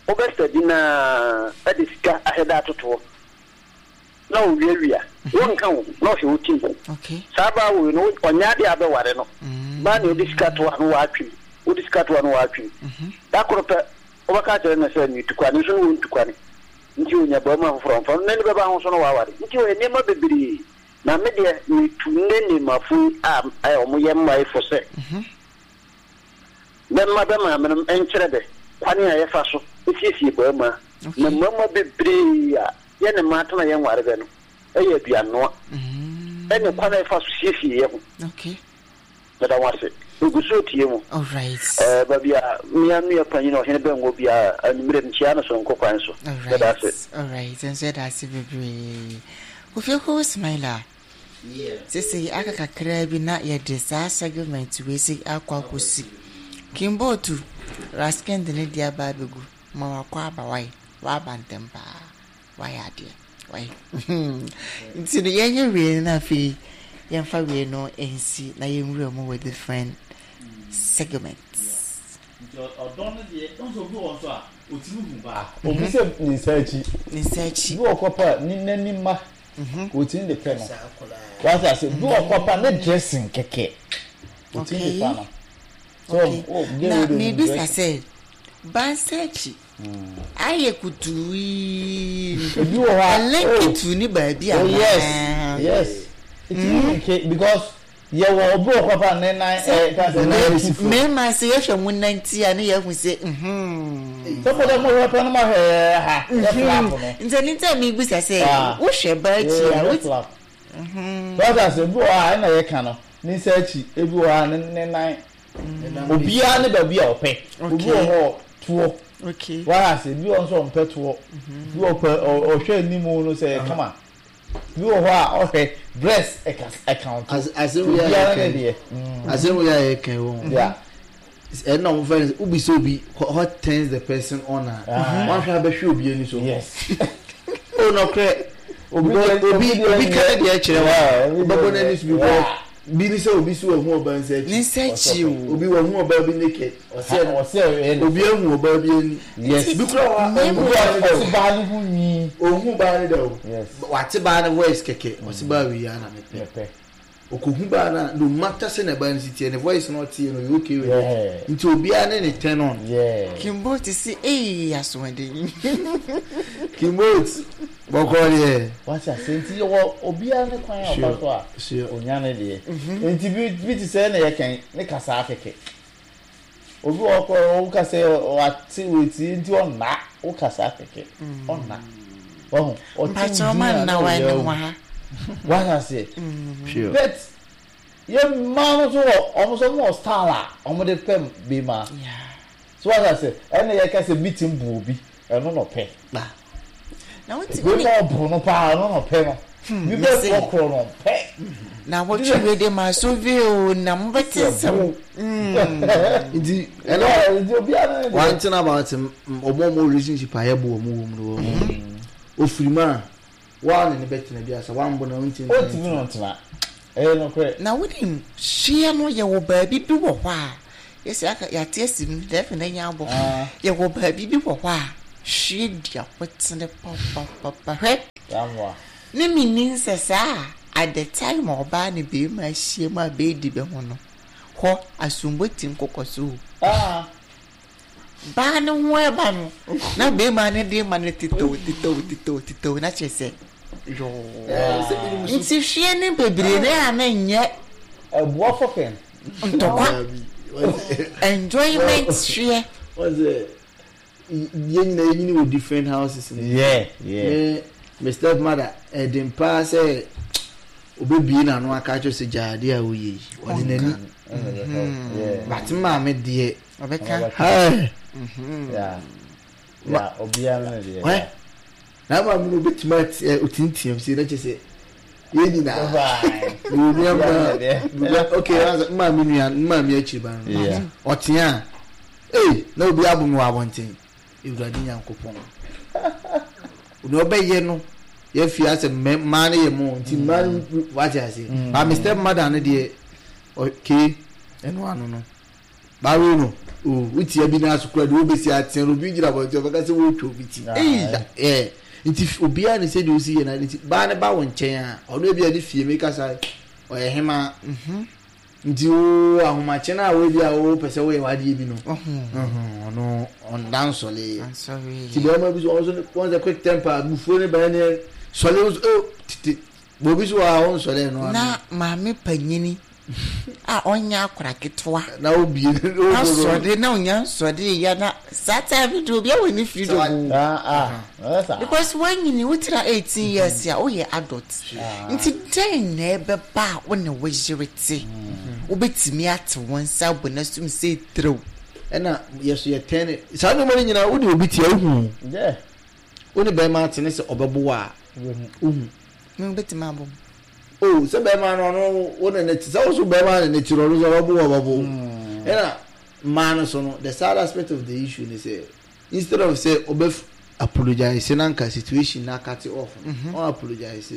wobɛsadi no ara de sika ahyɛ da atoto hɔ. na owiawia wo nka wo na ɔhwɛ wo tim. Saa baa woi no ɔnyɛ adeɛ a bɛware no. Baa nea ɔde sika to a no watwem, wode sika to a no watwem. Da koro pɛ wobɛka akyerɛ no sɛ metu kwane nso no wɔntu kwane nti ɔnya barima foforɔ a ɔmfa no, n'ani bɛba ho so na waware. Nti ɔyɛ nneɛma bebree. Na me deɛ metu nnɛ nnɛmafo yi a wɔyɛ mmae fo sɛ bɛmma bɛ maamenom nkyerɛ bɛ kwane a yɛfa so siesie barima. Na mmarima bebree a yɛne mmaa tena yɛnware bɛ no yɛ aduannoa ne kwan a yɛfa so siesie yɛ ho. Meda mo ase. Megu so retie mo. Ɛɛ baabi a me ara nua panyin Ɔhene Bɛngo biara anwummere mekyia no soronko kwan so. Meda ase. Alright, nso yɛda ase bebree. Kofi Okowo Smiler, sesei aka kakraa bi na yɛde saa segment wei sei akɔ akɔsi. Kimbotu, Raskin de ne deɛ aba abɛgu. Ma wakɔ aba wai waba ntɛm paa wayɛ adeɛ wai nti no yɛnyɛ wei no na afei yɛmfa wei no nsi na yɛnwura mu wɔ different segments. Nti ɔdɔ no deɛ nso obi wɔ nso a otumi hu baa. Obi sɛ ne nsa akyi. Ne nsa akyi. Bi wɔ kɔ pa ne n'ani ma. Otumi de pɛ no. Wate ase bi wɔ kɔ pa ne dressing kɛkɛ. Otumi de fa no. Okay. Na mebisa sɛ, Bansakyi ayɛ kutuu yi no, Ebi wɔ hɔ a, ɛlinki oh, to ne baabi oh yes, anaa? yes. Etumi linki because yɛwɔ obi wɔ hɔ papa ne nan Sɛ ɛɛ ka sɛ ne nan si fam. mmarima sɛ yɛhwɛ mo nanti a ne yɛahu sɛ mhm. Sɛ mo dɛ mo hwɛ pɛ no mo ahwɛ ha yɛ flap no. Nti ɛno nti a mebisa sɛ Ah, wohwɛ ba akyi a yɛ wot flap. So ɔte ase ebi wɔ hɔ a ɛna yɛka no ne nsa akyi ebi wɔ hɔ a ne ne nan obiara ne baabi a ɔpɛ obi wɔ hɔ toɔ wate ase ebi wɔ nso ɔmpɛ toɔ ebi wɔ pɛ ɔhwɛ anim no sɛ ɛyɛ kama ebi wɔ hɔ a ɔhwɛ dress ɛka ɛka to obiara ne deɛ. Asɛm wei a yɛka yi wɔ ho ɛna wɔn fɛn sɛ obi sɛ obi what turns the person on a wɔahwɛ abɛhwɛ obi ani so. Yes. O nɔkorɛ obi obi obi ka ne deɛ kyerɛ wa ɔbɛbɔ n'ani so because bi ni sɛ obi si wɔn ho ɔbaa nsa akyi. Ne nsa akyi o. Obi wɔn ho ɔbaa bi naked. Ɔsɛ obi ehu ɔbaa bi ani. Yes. Bi kura wa ɔhu baa ne da o. Ɔsi baa ne ho nwi. Ɔhu baa ne da o. Yes. Wate baa ne voice kɛkɛ ɔsi baa wei ya na mepɛ. Okohu baa no a, no matter sɛnea baa no si teɛ, ne voice no a ɔteɛ no, ɔyɛ okay with it. Nti obiara ne ne turn on. Kimbolt se eii asoɔden. Kimbolt, bɔkɔɔ deɛ. Wate aseɛ nti yɛwɔ obiara ne kwan a ɔfa so a onya ne deɛ. Nti bi bi te sɛ na yɛka yi, ne kasaa kɛkɛ. Obi wɔ hɔ koraa wo ka sɛ wate wetie nti ɔnna, wo kasaa kɛkɛ ɔnna. Wahu? Ɔte wo Mpakyɛw din ma a nna na wa ɔyɛ ne awu. ho ha. Wate aseɛ? But yɛ mmaa no nso wɔ wɔn nso wɔn wɔ style a wɔn de pɛ bema. Yeah. So wate aseɛ? Ɛna yɛka sɛ meeting bu obi, ɛno na ɔpɛ. Ba. Na wote Wei ma ɔbo no paa ɔno na ɔpɛ no. Bi bɛ korɔkorɔ no ɔmpɛ. Na wɔtwe wei de ma so vi o na mobɛte nsɛm. Nti ɛna Nti obiara ne deɛ. One thing about ɔmo ɔmo relationship a yɛbo ɔmo wɔ mu no wɔ ofiri mu a waa ne ne bɛtena bi asa wambo na ɔntumi Ɔntumi no ntena. Ɛyɛ nokorɛ. Na wonim hyeɛ no yɛwɔ baabi bi wɔ hɔ a yɛsɛ aka yɛate asi mu dɛ na nya abɔ yɛwɔ baabi bi wɔ hɔ a hwie di akotene papapapa hwɛ Yamoa. ne menni nsɛ saa at the time a ɔbaa ne bɛrima ahyia mu a bɛɛdi bɛ ho no hɔ asombo ti nkokɔ so o Ah. Baa no ho ɛba no na bɛrima no de ma no tetɛw tetɛw tetɛw tetɛw na kyerɛ sɛ yɔɔ nti hwie ne bebree ne a na nyɛ Ɛboa fɔkɛn. Ntɔkwa enjoyment hweɛ. Wɔn sɛ yɛn nyinaa yɛnyini wɔ different houses no. Yeah, yeah. Me me step mother ɛden paa sɛ obebie n'ano aka akyerɛ sɛ gya adeɛ a woyɛ yi ɔde n'ani. But maame deɛ. Ɔbɛka. Hey. Yeah. Yeah, obiara ne deɛ. Wɛ na maame no obetumi ati ɛ otintiam si na kyerɛ sɛ yɛn nyinaa. Bye. Nua ma okay maame nua maame akyiri ba no. Ɔtea. Ei na obi abo me wɔ abɔnten. Awurade Nyankopɔn. Nea ɔbɛyɛ no yɛafi asɛ mmaa no yɛ mo nti mmaa no wate ase. Ba me step mother no deɛ okay ɛno ano no. Bawe no o wotia bi n'aso kura deɛ wobɛsi ateɛ no obi gyina abɔnten ɔbɛka sɛ wotwa obi ti. Ei ɛɛ nti obiara ne sɛdeɛ osi yɛ n'ade nti baa ne ba wo nkyɛn a ɔno ebi a ne fie meka sa ɔyɛ hemaa. Nti wo ahomakye no a wo bi a wo pɛ sɛ woyɛ w'adeɛ bi no ɔno ɔnda nsɔle nti bɛrima bi so ɔno so wɔn sɛ quick temper abufuo ne bɛn ne sɔle nso oh tete bɛ obi so wɔ ha ɔnsɔle ɛno ano. Na maame panyini a ɔnyɛ akora ketewa na obie asɔre na onya nsɔre ya na saa time de obi awɔ ne freedom o. Ah ah. Because wanyini wotira 18 years a woyɛ adult. Nti dɛn na ɛbɛba a wo ne wo yere te? Wobɛtumi ate wo nsa abɔ n'asom sɛ tirew. Ɛna yɛ so yɛ tɛn saa nneɛma no nyinaa wode obi te a wohu. Wo ne bɛrima ate ne sɛ ɔbɛbo wo a wohu. Me wobɛtumi abɔ m. O sɛ bɛrima no ɔno wo ne ne te sɛ wo so bɛrima ne ne te no ɔno so ɔbɛbo wo ɔbɛbo wo. Ɛna mmaa no so no the sad aspect of the issue ne sɛ instead of sɛ ɔbɛ apologize na nka situation na akate off no mm-hmm. ɔn apologize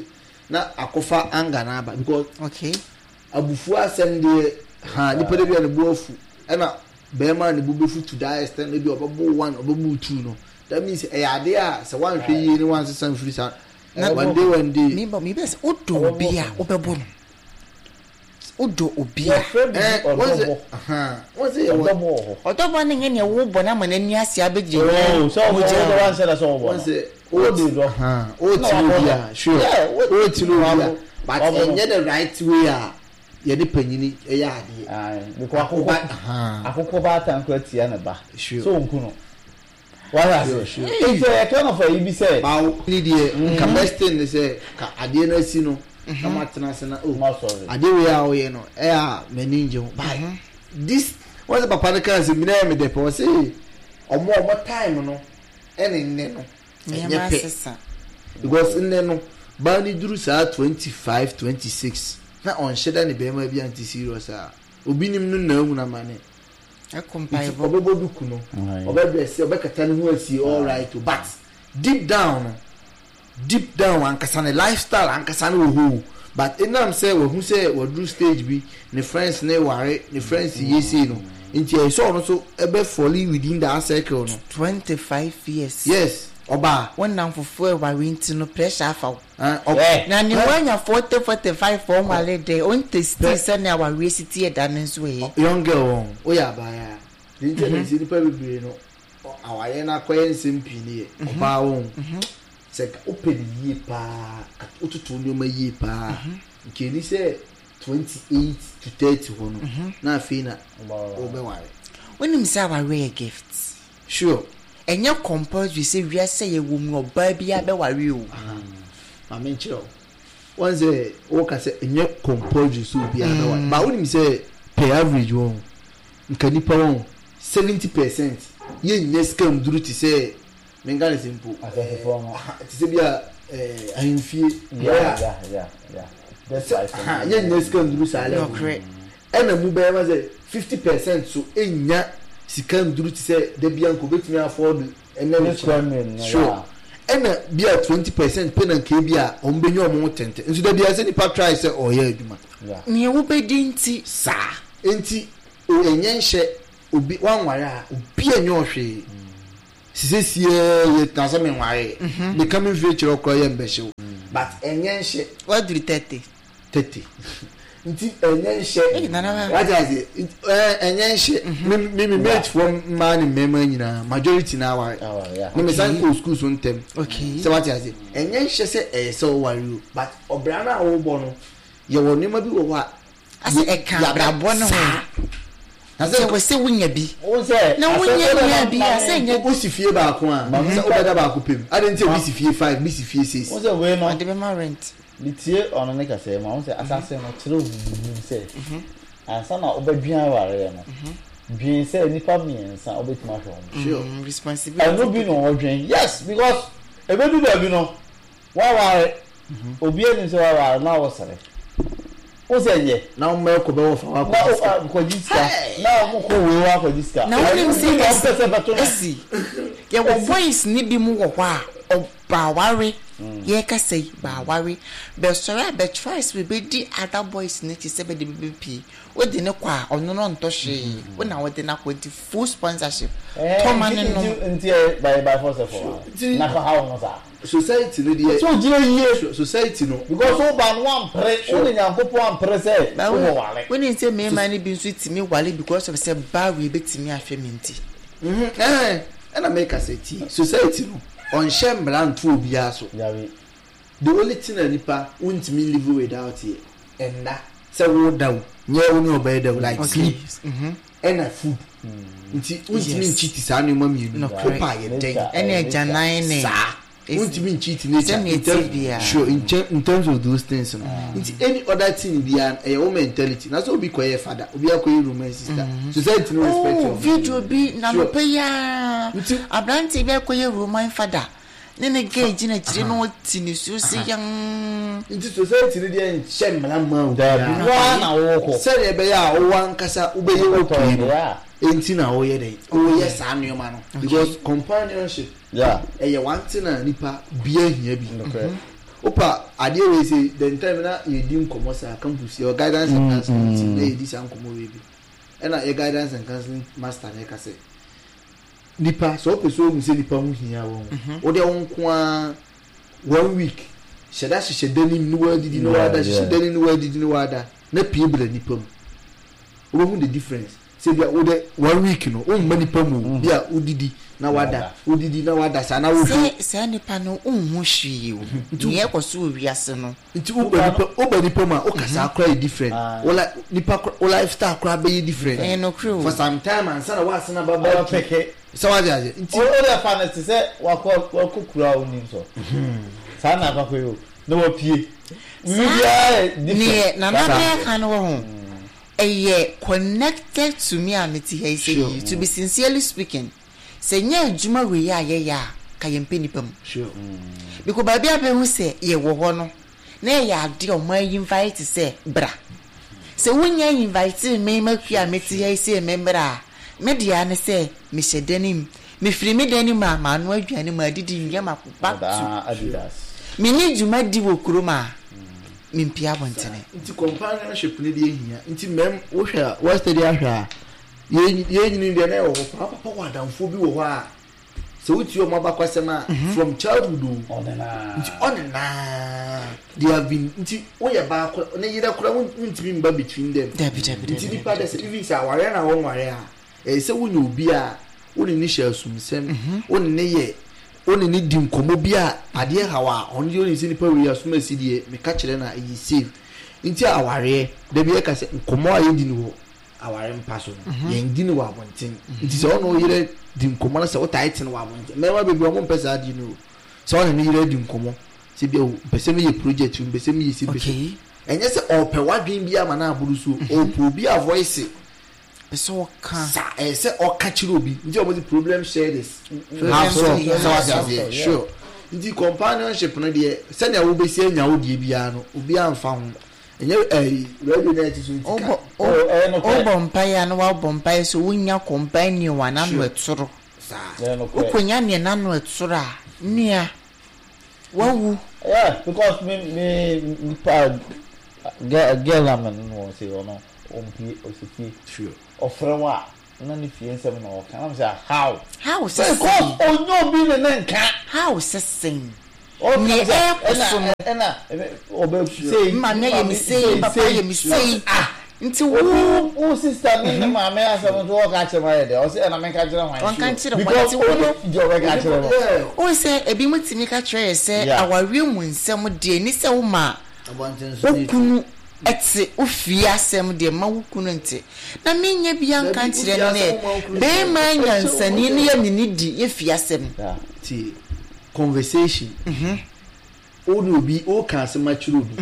na akɔfa anger na aba because okay abufuo asɛm deɛ ha nipa de bi a ne bo afu ɛna bɛrima ne bo bɛfu to that extent ebi ɔbɛbo one ɔbɛbo two no that means ɛyɛ adeɛ a sɛ wanhwɛ yie ne wansesa mfiri saa one day one day. mi bɔ mi bɛ sɛ o dɔ obi a o bɛ bɔ no. Wodɔ obi a. Yɛfrɛ biribi ɔdɔbɔ. Ɔdɔbɔ wɔ hɔ. Ɔdɔbɔ no nyɛ nea wobɔ no ama n'ani ase abɛgyina Oh, sɛ ɔbɔ wo dɔ wansɛ da sɛ ɔbɔ no. Wode dɔ. Wotiri obi a, sure. Wotiri obi a, but ɛnyɛ the right way a yɛne panyini yɛ adeɛ. Aye, because akokɔ akokɔ baatan koraa tia ne ba. Sure. Sɛ ɔnku no. Wate ase? Nti ɛyɛ kind of ayi bi sɛ. Bawo ne deɛ nka best thing ne sɛ ka adeɛ no asi no na mo atena ase na oh adeɛ wei a woyɛ no ɛyɛ a m'ani ngye ho but this wɔn sɛ papa no kaa sɛ mi na ɛyɛ me dɛ pɛ ɔse ɔmo ɔmo time no ɛne nnɛ no ɛnyɛ pɛ because nnɛ no baa ne duru saa 25 26 na ɔnhyɛ da ne bɛrima bi ante serious a obi nim no na ahunu amane. Ɛkɔ Nti mpaebɔ. ɔbɛbɔ duku no, ɔbɛdrɛse, ɔbɛkata ne ho asie all right o but deep down no, deep down ankasa ne lifestyle ankasa no wɔ hɔ o but ɛnam sɛ wahu sɛ waduru stage bi, ne friends no reware, ne friends reyɛ sei no nti ɛyɛ sɛ ɔno nso bɛ fall within that circle no. 25 years. Yes, ɔbaa. Wo nnamfofoɔ reware nti no pressure afa wo. Ah, Na ne wanya 40 45 ɔnware dɛ ɔntestii sɛnea awareɛ si teɛ da no nso ɛ. Young girl wɔn woyɛ abaayaa deɛ nti na nti nipa bebree no awareɛ no akɔyɛ nsɛm pii no yɛ ɔbaa wɔn sɛ nka wopɛ ne yie paa wototo nneɛma yie paa nka ɛni sɛ 28 to 30 hɔ no na afei na wobɛware. Wonim sɛ awareɛ yɛ gift. Sure. Ɛnyɛ compulsory sɛ wiase a yɛwɔ mu no ɔbaa biara bɛware o. Aha, ma menkyerɛ wo. Wɔn sɛ woka sɛ ɛnyɛ compulsory sɛ obiara bɛware. But wonim sɛ per average wɔn, nka nipa wɔn 70 percent yɛnnya sika nduru te sɛ. Menka ne sɛ mpo. Asɛnsefoɔ no. Te sɛ bi a ahemfie. Yeah, yeah. That's Sɛ right. aha yɛnnya sika nduru saa level no. Nokorɛ. Ɛna mu bɛyɛ ma sɛ 50% so nnya sika nduru te sɛ da bi a nka obetumi afford ɛnɛ ne Ne square meal no, Sure. yeah. Ɛna bi a 20% pɛ na nka ebi a wɔn bɛnya wɔn ho tɛntɛn. Nso da bi a sɛ nipa try sɛ ɔyɛ adwuma. Yeah. Nea wobɛdi nti. Saa. Nti o ɛnyɛ nhyɛ obi wanware a obi ɛnyɛ ɔhwee. Sisesiaa yɛ tena sɛ menwaree. Meka me mfie kyerɛ wo koraa yɛ mbɛhye wo. But ɛnyɛ nhyɛ. Waduru 30. 30. Nti ɛnyɛ nhyɛ. Ei nana ba. Wate aseɛ? Nti ɛɛ ɛnyɛ nhyɛ. Me me me mate foɔ mmaa ne mmarima nyinaa majority na aware. Aware, yeah. Me me san kɔɔ school so ntɛm. Okay. Sɛ wate aseɛ? Ɛnyɛ nhyɛ sɛ ɛyɛ sɛ woware o but ɔbra no a wobɔ no yɛwɔ nneɛma bi wɔ hɔ a Asɛ ɛka abrabɔ no ho. Sɛ wɔ sɛ wonya bi. Na wonya nya bi a sɛ nyɛ. Wosi fie baako a sɛ wobɛda baako pɛ mu. Adɛn nti a obi si fie five, bi si fie six. Wo sɛ wei no. Ɔde bɛma rent. Metie ɔno ne kasa yi mu a, wo sɛ asase no kyerɛ wo biribi sɛ ansa na wobɛdwen awareɛ no, dwen sɛ nnipa mmiɛnsa wobɛtumi ahwɛ wɔn. Sure. Responsibility. Ɛno bi na ɔdwen. Yes, because ɛbɛdu baabi no, Waware obiara nim sɛ waware na wosere wo sɛ nyɛ. Na wɔn mma ɛkɔ bɛwɔ fa wakɔgye sika. Na wakɔgye sika na wɔn kɔ wei wakɔgye sika. Na wonim sɛ esi yɛwɔ boys ne bi mu wɔ hɔ a ɔbaware yɛkasa yi baware bɛsɔre a bɛ try sɛ bɛbɛdi other boys no akyi sɛ bɛde bɛbɛpie wode no kɔ a ɔno no ɔntɔ hwee wo na wode no akɔ nti full sponsorship tɔ ma no nom. Nti ɛyɛ by by force for wa na kɔ ha wɔn saa. Society no deɛ. Sɛ ogyina yie. Society no. Because wo ba no wampere, wo ne Nyankopɔn ampere sɛ wo bɛ ware. Wonim sɛ mmarima no bi nso tumi ware because of sɛ baa wei bɛtumi ahwɛ me nti. Ɛɛ ɛna meka sɛ tie, society no ɔnhyɛ mmara nto obiara so. Dabi. The only thing a nipa wontumi live without yɛ ɛnna, sɛ woda o, nyɛ wo ne ɔbaa da o, like sleep. Ɛna food nti wontumi nkyiti saa nneɛma mmienu no wopa ayɛ dɛn ɛne agyanan ne saa wontumi nkyiti nature in terms sure in, in terms of those things no nti any other thing biara ɛyɛ wo mentality na sɛ obi kɔyɛ fada obi akɔyɛ roman sister society no respect oh video bi na nɔpɛ yi ara aberante bi akɔyɛ roman fada Ne ne gay gyina akyire na ɔte nisuo se yann. Nti society no deɛ nhyɛ mmara mma obiara. Daabi, wo ara na wokɔ. Sɛdeɛ ɛbɛyɛ a wo ankasa wobɛyɛ okay no nti na woyɛ dɛn, woyɛ saa nneɛma no. Because companionship ɛyɛ one thing a nipa biara hia bi. Wopa adeɛ wei sei, the time na yɛdi nkɔmmɔ saa campus, yɛwɔ guidance and counseling team na yɛdi saa nkɔmmɔ wei bi. Ɛna yɛ guidance and counseling master no ɛka sɛ, Nipa, sɛ wopɛ sɛ wohu sɛ nipa ho hia wo a, wo deɛ wo nko ara one week hyɛ da hyehyɛ da nim ne woadidi ne woada, hyehyɛ da nim ne woadidi ne woada na pie bra nipa mu. Wobɛhu the difference. Sɛ bia wo deɛ one week no womma nipa mu o, bia wodidi na wada, wodidi na wada saa na wohwɛ. Sɛ saa nipa no wonhu hwee o, nea ɛkɔ so wɔ wiase no. Nti woba nipa woba nipa mu a wo kasaa koraa yɛ different wo li nipa kora wo lifestyle koraa bɛyɛ different Ɛyɛ nokorɛ o. for some time ansa na woasan aba back to sɛ wate aseɛ nti. O deɛ fa no te sɛ wakɔ wakɔ kuro a wonim so saa na akɔ akɔyɛ o na wapue biribiara yɛ different. Neɛ Nana bɛɛka no wɔ ho ɛyɛ connected to me a mete ha yi sɛ yi to be sincerely speaking. Sɛ nyɛ adwuma wei a yɛyɛ a, ka yɛmpɛ nnipa mu. Because baabi a bɛhu sɛ yɛwɔ hɔ no, na ɛyɛ adeɛ a wɔn invite sɛ bra. Sɛ wonnya invite me m'akua a mete ha yi sɛ memmra a, me deɛ ara ne sɛ mehyɛ dan mu. Mefiri me dan mu a, manoa aduane, madidi, nwie makɔ back to. Menni dwuma di wɔ kurom a, mempue abɔntene. Nti companionship no deɛ hia. Nti mɛm wohwɛ a, woastudy ahwɛ a, Yɛn yɛn deɛ na ɛwɔ hɔ paa papa wɔ adamfoɔ bi wɔ hɔ a sɛ wotie wɔn abakwasɛm a mhm. from childhood o nti ɔnenaa they have been nti woyɛ baako ne yerɛ kora wontumi mba between them nti nipa dɛ sɛ even sɛ awareɛ na wɔnware a ɛyɛ sɛ wonya obi a wo ne ne hyɛ asumsɛm mhm. wo ne ne yɛ wo ne ne di nkɔmmɔ bi a adeɛ haw a ɔno deɛ ɔnim sɛ nipa wei asom asi deɛ meka kyerɛ no a ɛyɛ safe nti awareɛ da bi ɛka sɛ nkɔmmɔ a yɛdi no wɔ aware mpa so no mhm. yɛn di no wɔ abɔnten mhm. nti sɛ ɔne ɔyere di nkɔmɔ na sɛ ɔtae te no wɔ abɔnten mmarima bebree ɔmo mpɛ saa di no o sɛ ɔne ne yere di nkɔmɔ sɛ bi o mpɛ sɛ meyɛ project mpɛ sɛ meyɛ si mpɛ sɛ ɛnyɛ sɛ ɔpɛ wadwen bi ama no aboro so mhm. ɔpɛ obi a voice. Ɔpɛ sɛ ɔka. Sa ɛyɛ sɛ ɔka kyerɛ obi nti ɔmo se problem shared is half solved sɛ wate aseɛ sure nti companionship no deɛ sɛnea wobɛsi anya wo deɛ biara no obiara nfa ho ɛnyɛ ɛyi radio na ɛte so nti ka. Wobɔ mpaeɛ a na wabɔ mpaeɛ sɛ wonya companion a n'ano ɛtoro. Wokɔnya neɛ n'ano ɛtoro a nua wawu. Yeah because me me nipa girl girl a me ne no wɔ se ɔno ɔmpie ɔsi fie. Sure. Ɔfrɛ wo a na ne fie nsɛm na ɔka na me sɛ how? How sɛ sɛn? Because ɔnyɛ obi ne ne nka. How sɛ sɛn? Ɔka Nea me sɛ ɛrekɔ ɛna so no. ɛna ɔbɛ sei Me maame ayɛ me sei, me papa ayɛ me sei. Ah Nti wo. Obi wo sister ne ne maame asɛm nso ɔka kyerɛ me ayɛ dɛ ɔsɛ ɛna menka kyerɛ hwan? Ɔnka nkyerɛ hwan? Because Nti wo no. ɔnim deɛ ɔbɛka akyerɛ no. Wohu sɛ ebinom tumi ka kyerɛ yɛ sɛ awareɛ mu nsɛm deɛ ɛni sɛ woma wo kunu te wo fie asɛm deɛ mma wo kunu nte. Na menyɛ biara nka nkyerɛ no nɛ barima nyansani no yɛ ne ne di yɛ fie asɛm. Tie conversation. Wo ne obi woka asɛm akyerɛ obi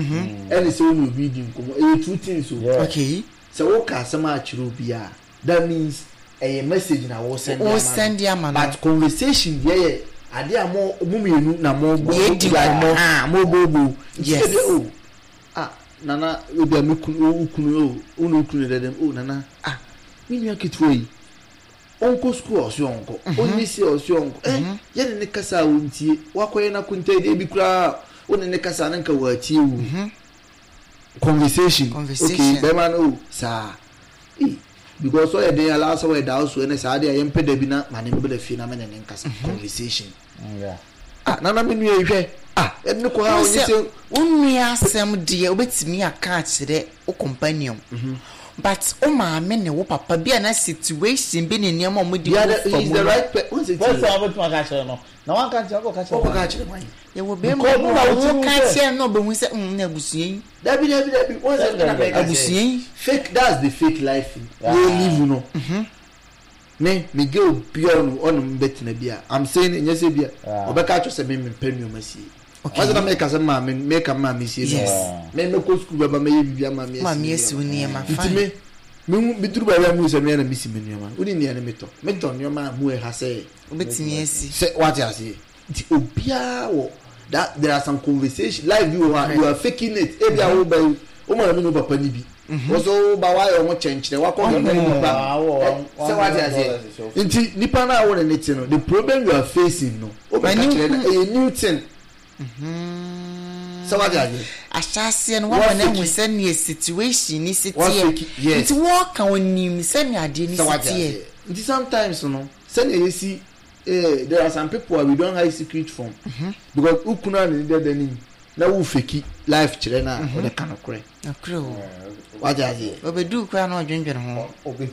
ɛne sɛ wo ne obi redi nkɔmmɔ ɛyɛ two things o. Okay. Sɛ woka asɛm akyerɛ obi a that means ɛyɛ message na wo send ama no but conversation deɛ yɛ adeɛ a mo mo mmienu na mo bɔ Yɛdi nkɔmmɔ. Ah mo bɔ bɔ. Yes. Nti ebi o ah nana ebi a me kunu wo kunu o wo ne wo kunu dɛdɛm o nana ah me nua ketewa yi. Ɔnkɔ sukuu a ɔse ɔnkɔ, ɔnyɛ sei a ɔse ɔnkɔ. Eh, yɛne no kasa a ɔntie. Wakɔyɛ n'akontaa ebi koraa a, wo ne no kasa a na nka watie wo. Conversation, okay, bɛrima no o, saa. Ei, because ɔyɛ den alaa sɛ ɔyɛ da so ɛnɛ saa deɛ yɛmpɛ da bi na ma ne mbra fie na me ne ne nkasa. Conversation. Ah, nana me nua yi hwɛ, ah, yɛde no kɔ ha a ɔnyɛ sei. Wo nua asɛm deɛ wobɛtumi aka akyerɛ wo companion but wo maame ne wo papa bi a na situation bi ne nneɛma a wɔde gu fa mu the no. right pe wɔn sɛ First time wobɛtumi aka akyerɛ no na wanka nkyerɛ wokɔka kyerɛ wɔkɔka hwan? akyerɛ hwan? Yɛwɔ bɛrima Because bi wo wɔ na hɔ wote mu woka sɛ kyerɛ no na ɔbɛhu sɛ mm na abusua yi. Dabi dabi dabi wɔn sɛ Dabi ɛna dabi mɛka dabi. sɛ Abusua yi. fake that's the fake life yɛ live no. Me me girl bia ɔno ɔno me bɛtena bi a I'm saying nyɛ sɛ bia ɔbɛka akyerɛ sɛ me mempɛ nneɛma sie. Okay. Ɔsɛ na meka sɛ maame meka maame sie Yes. nneɛma. Me mɛkɔ sukuu bɛba mɛyɛ biribi ama me Maame asi wo nneɛma Nti fine. me me hu meduru baabi a mehu sɛ me na mesi me nneɛma. Wone nea ne metɔ. Metɔ nneɛma a mu ɛha sɛ Wobɛtumi asi. sɛ wate aseɛ. Nti obiara wɔ that there are some conversation life bi wɔ hɔ a you are faking it ebi a wo ba yi wo maame ne wo papa ni bi wọ́n so wo ba wayɛ ɔmo kyɛnkyerɛ wakɔ kɛkɛ ne nipa sɛ wate aseɛ nti nipa naa wo ne ne te no the problem you are facing no wo bɛ ka kyerɛ no ɛyɛ new thing sɛ wate aseɛ. Ahyɛaseɛ no wama no ahu sɛdeɛ situation ni si teɛ nti wɔka onim sɛdeɛ adeɛ ni si teɛ. Nti sometimes no sɛdeɛ yɛsi Eh there are some people a we don't hide secret from because wo kunu a ne dada nim na wo feki life kyerɛ no a ɔde ka nokorɛ. Nokorɛ o. Wate aseɛ. Ɔbɛduu koraa na ɔdwendwene ho. Ɔbɛhu.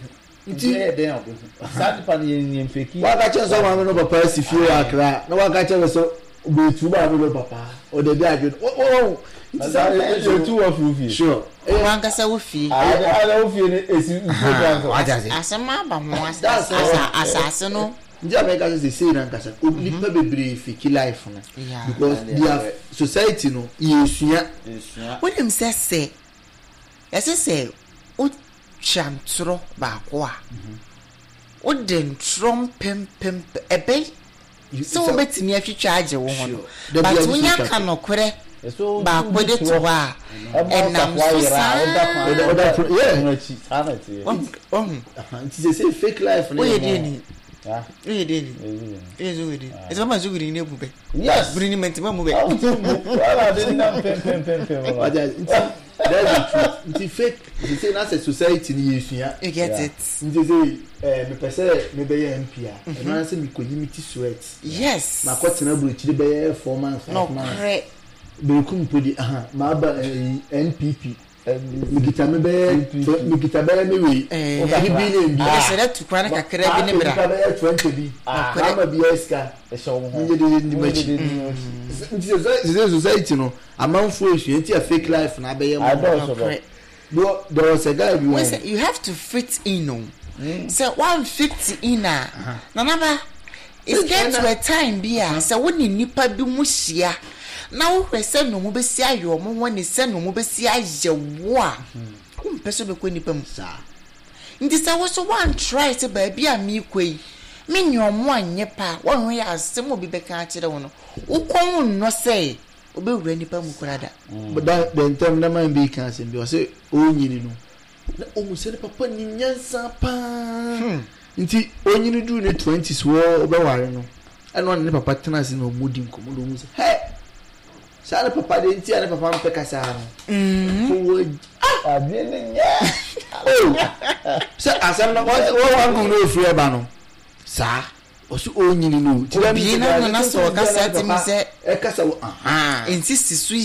Nti ɛyɛ dɛn a ɔbɛhu. Saa nipa no yɛn yɛn feki. Waka kyerɛ sɛ maame no papa asi fie wɔ Accra na waka kyerɛ no sɛ ɔbɛtu maame no papa ɔde bi adwene wɔn nti sometimes o. Yɛtu wɔ firi fie. Sure. Wo ankasa wo fie. Ada wo fie no esi nsuo kwan so. Wate aseɛ. Asɛm aba ho asase no. Nti a mɛka sɛ sesei no ankasa nnipa bebree fake life no because their society no yɛsua. Wonim sɛ sɛ yɛse sɛ wotwa ntorɔ baako a wode ntorɔ mpempem ɛbɛ sɛ wobɛtumi atwitwa agye wo ho no but wonya ka nokorɛ baako de to hɔ a ɛnam so saa. Wahu. Nti sesei fake life no yɛ more. Woyɛ deɛ ni. Woyɛ deɛ ni. Woyɛ nso woyɛ deɛ ni. Ɛsɛ mama nso wuri ne bu bɛ. Yes. Buri ni mɛnti ma mu bɛ. Awo ti bu. Wala de nam pem pem pem pem. Nti that's the truth. Nti fake sesei na sɛ society ni yɛ sua. You get it. Nti sesei ɛɛ mepɛ sɛ mebɛyɛ MP a ɛno ara sɛ mekɔyi me ti sweat. Yes. Makɔ tena burokyiri bɛyɛ 4 months 5 months. Nokorɛ. Berekum mpo de aha maba ɛyi NPP. Mekita me bɛyɛ mekita bɛyɛ me wei. 3 billion bi. Ɛsɛ dɛ tu kwan kakra bi ne bra. Mekita bɛyɛ 20 bi. Mama bi yɛ sika. Menye de ndi m'akyi. Nti sɛ society no amanfoɔ esua nti a fake life na abɛyɛ mo. Bro, there was a guy bi wɔn. You have to fit in o. Sɛ wan fit in a, nanaba, it get to a time bi a sɛ wo ne nipa bi mu hyia na wohwɛ sɛ na ɔmo bɛsi ayɛ ɔmo ho ne sɛ na ɔmo bɛsi ayɛ wo a, wompɛ sɛ wobɛkɔ nipa mu. Saa. Nti sɛ wo so woantry sɛ baabi a merekɔ yi, me ne ɔmo anyɛ pɛ a, woanhwɛ yɛ asɛm a obi bɛka akyerɛ wo no, wo kɔn nnɔ sɛ wobɛwura nnipa mu koraa da. Da da ntɛm na man bi ka asɛm bi ɔsɛ ɔnyini no na ɔhu sɛ ne papa nim nyansa paa nti ɔnyini duru ne twenties wɔ ɔbɛware no ɛna ɔne ne papa tena ase na ɔmo di nkɔmɔ na ɔhu sɛ hɛ saa ne papa deɛ nti a ne papa mpɛ kasa no ɔwɔ Adeɛ no nyɛ. Oh sɛ asɛm no wɔn wɔn wɔn no ofiri ɛba no saa ɔso ɔnyini no ti dɛ mi sɛ na na sɛ ɔkasa ti mi sɛ ɛkasa wɔ ahan nsisi so yi.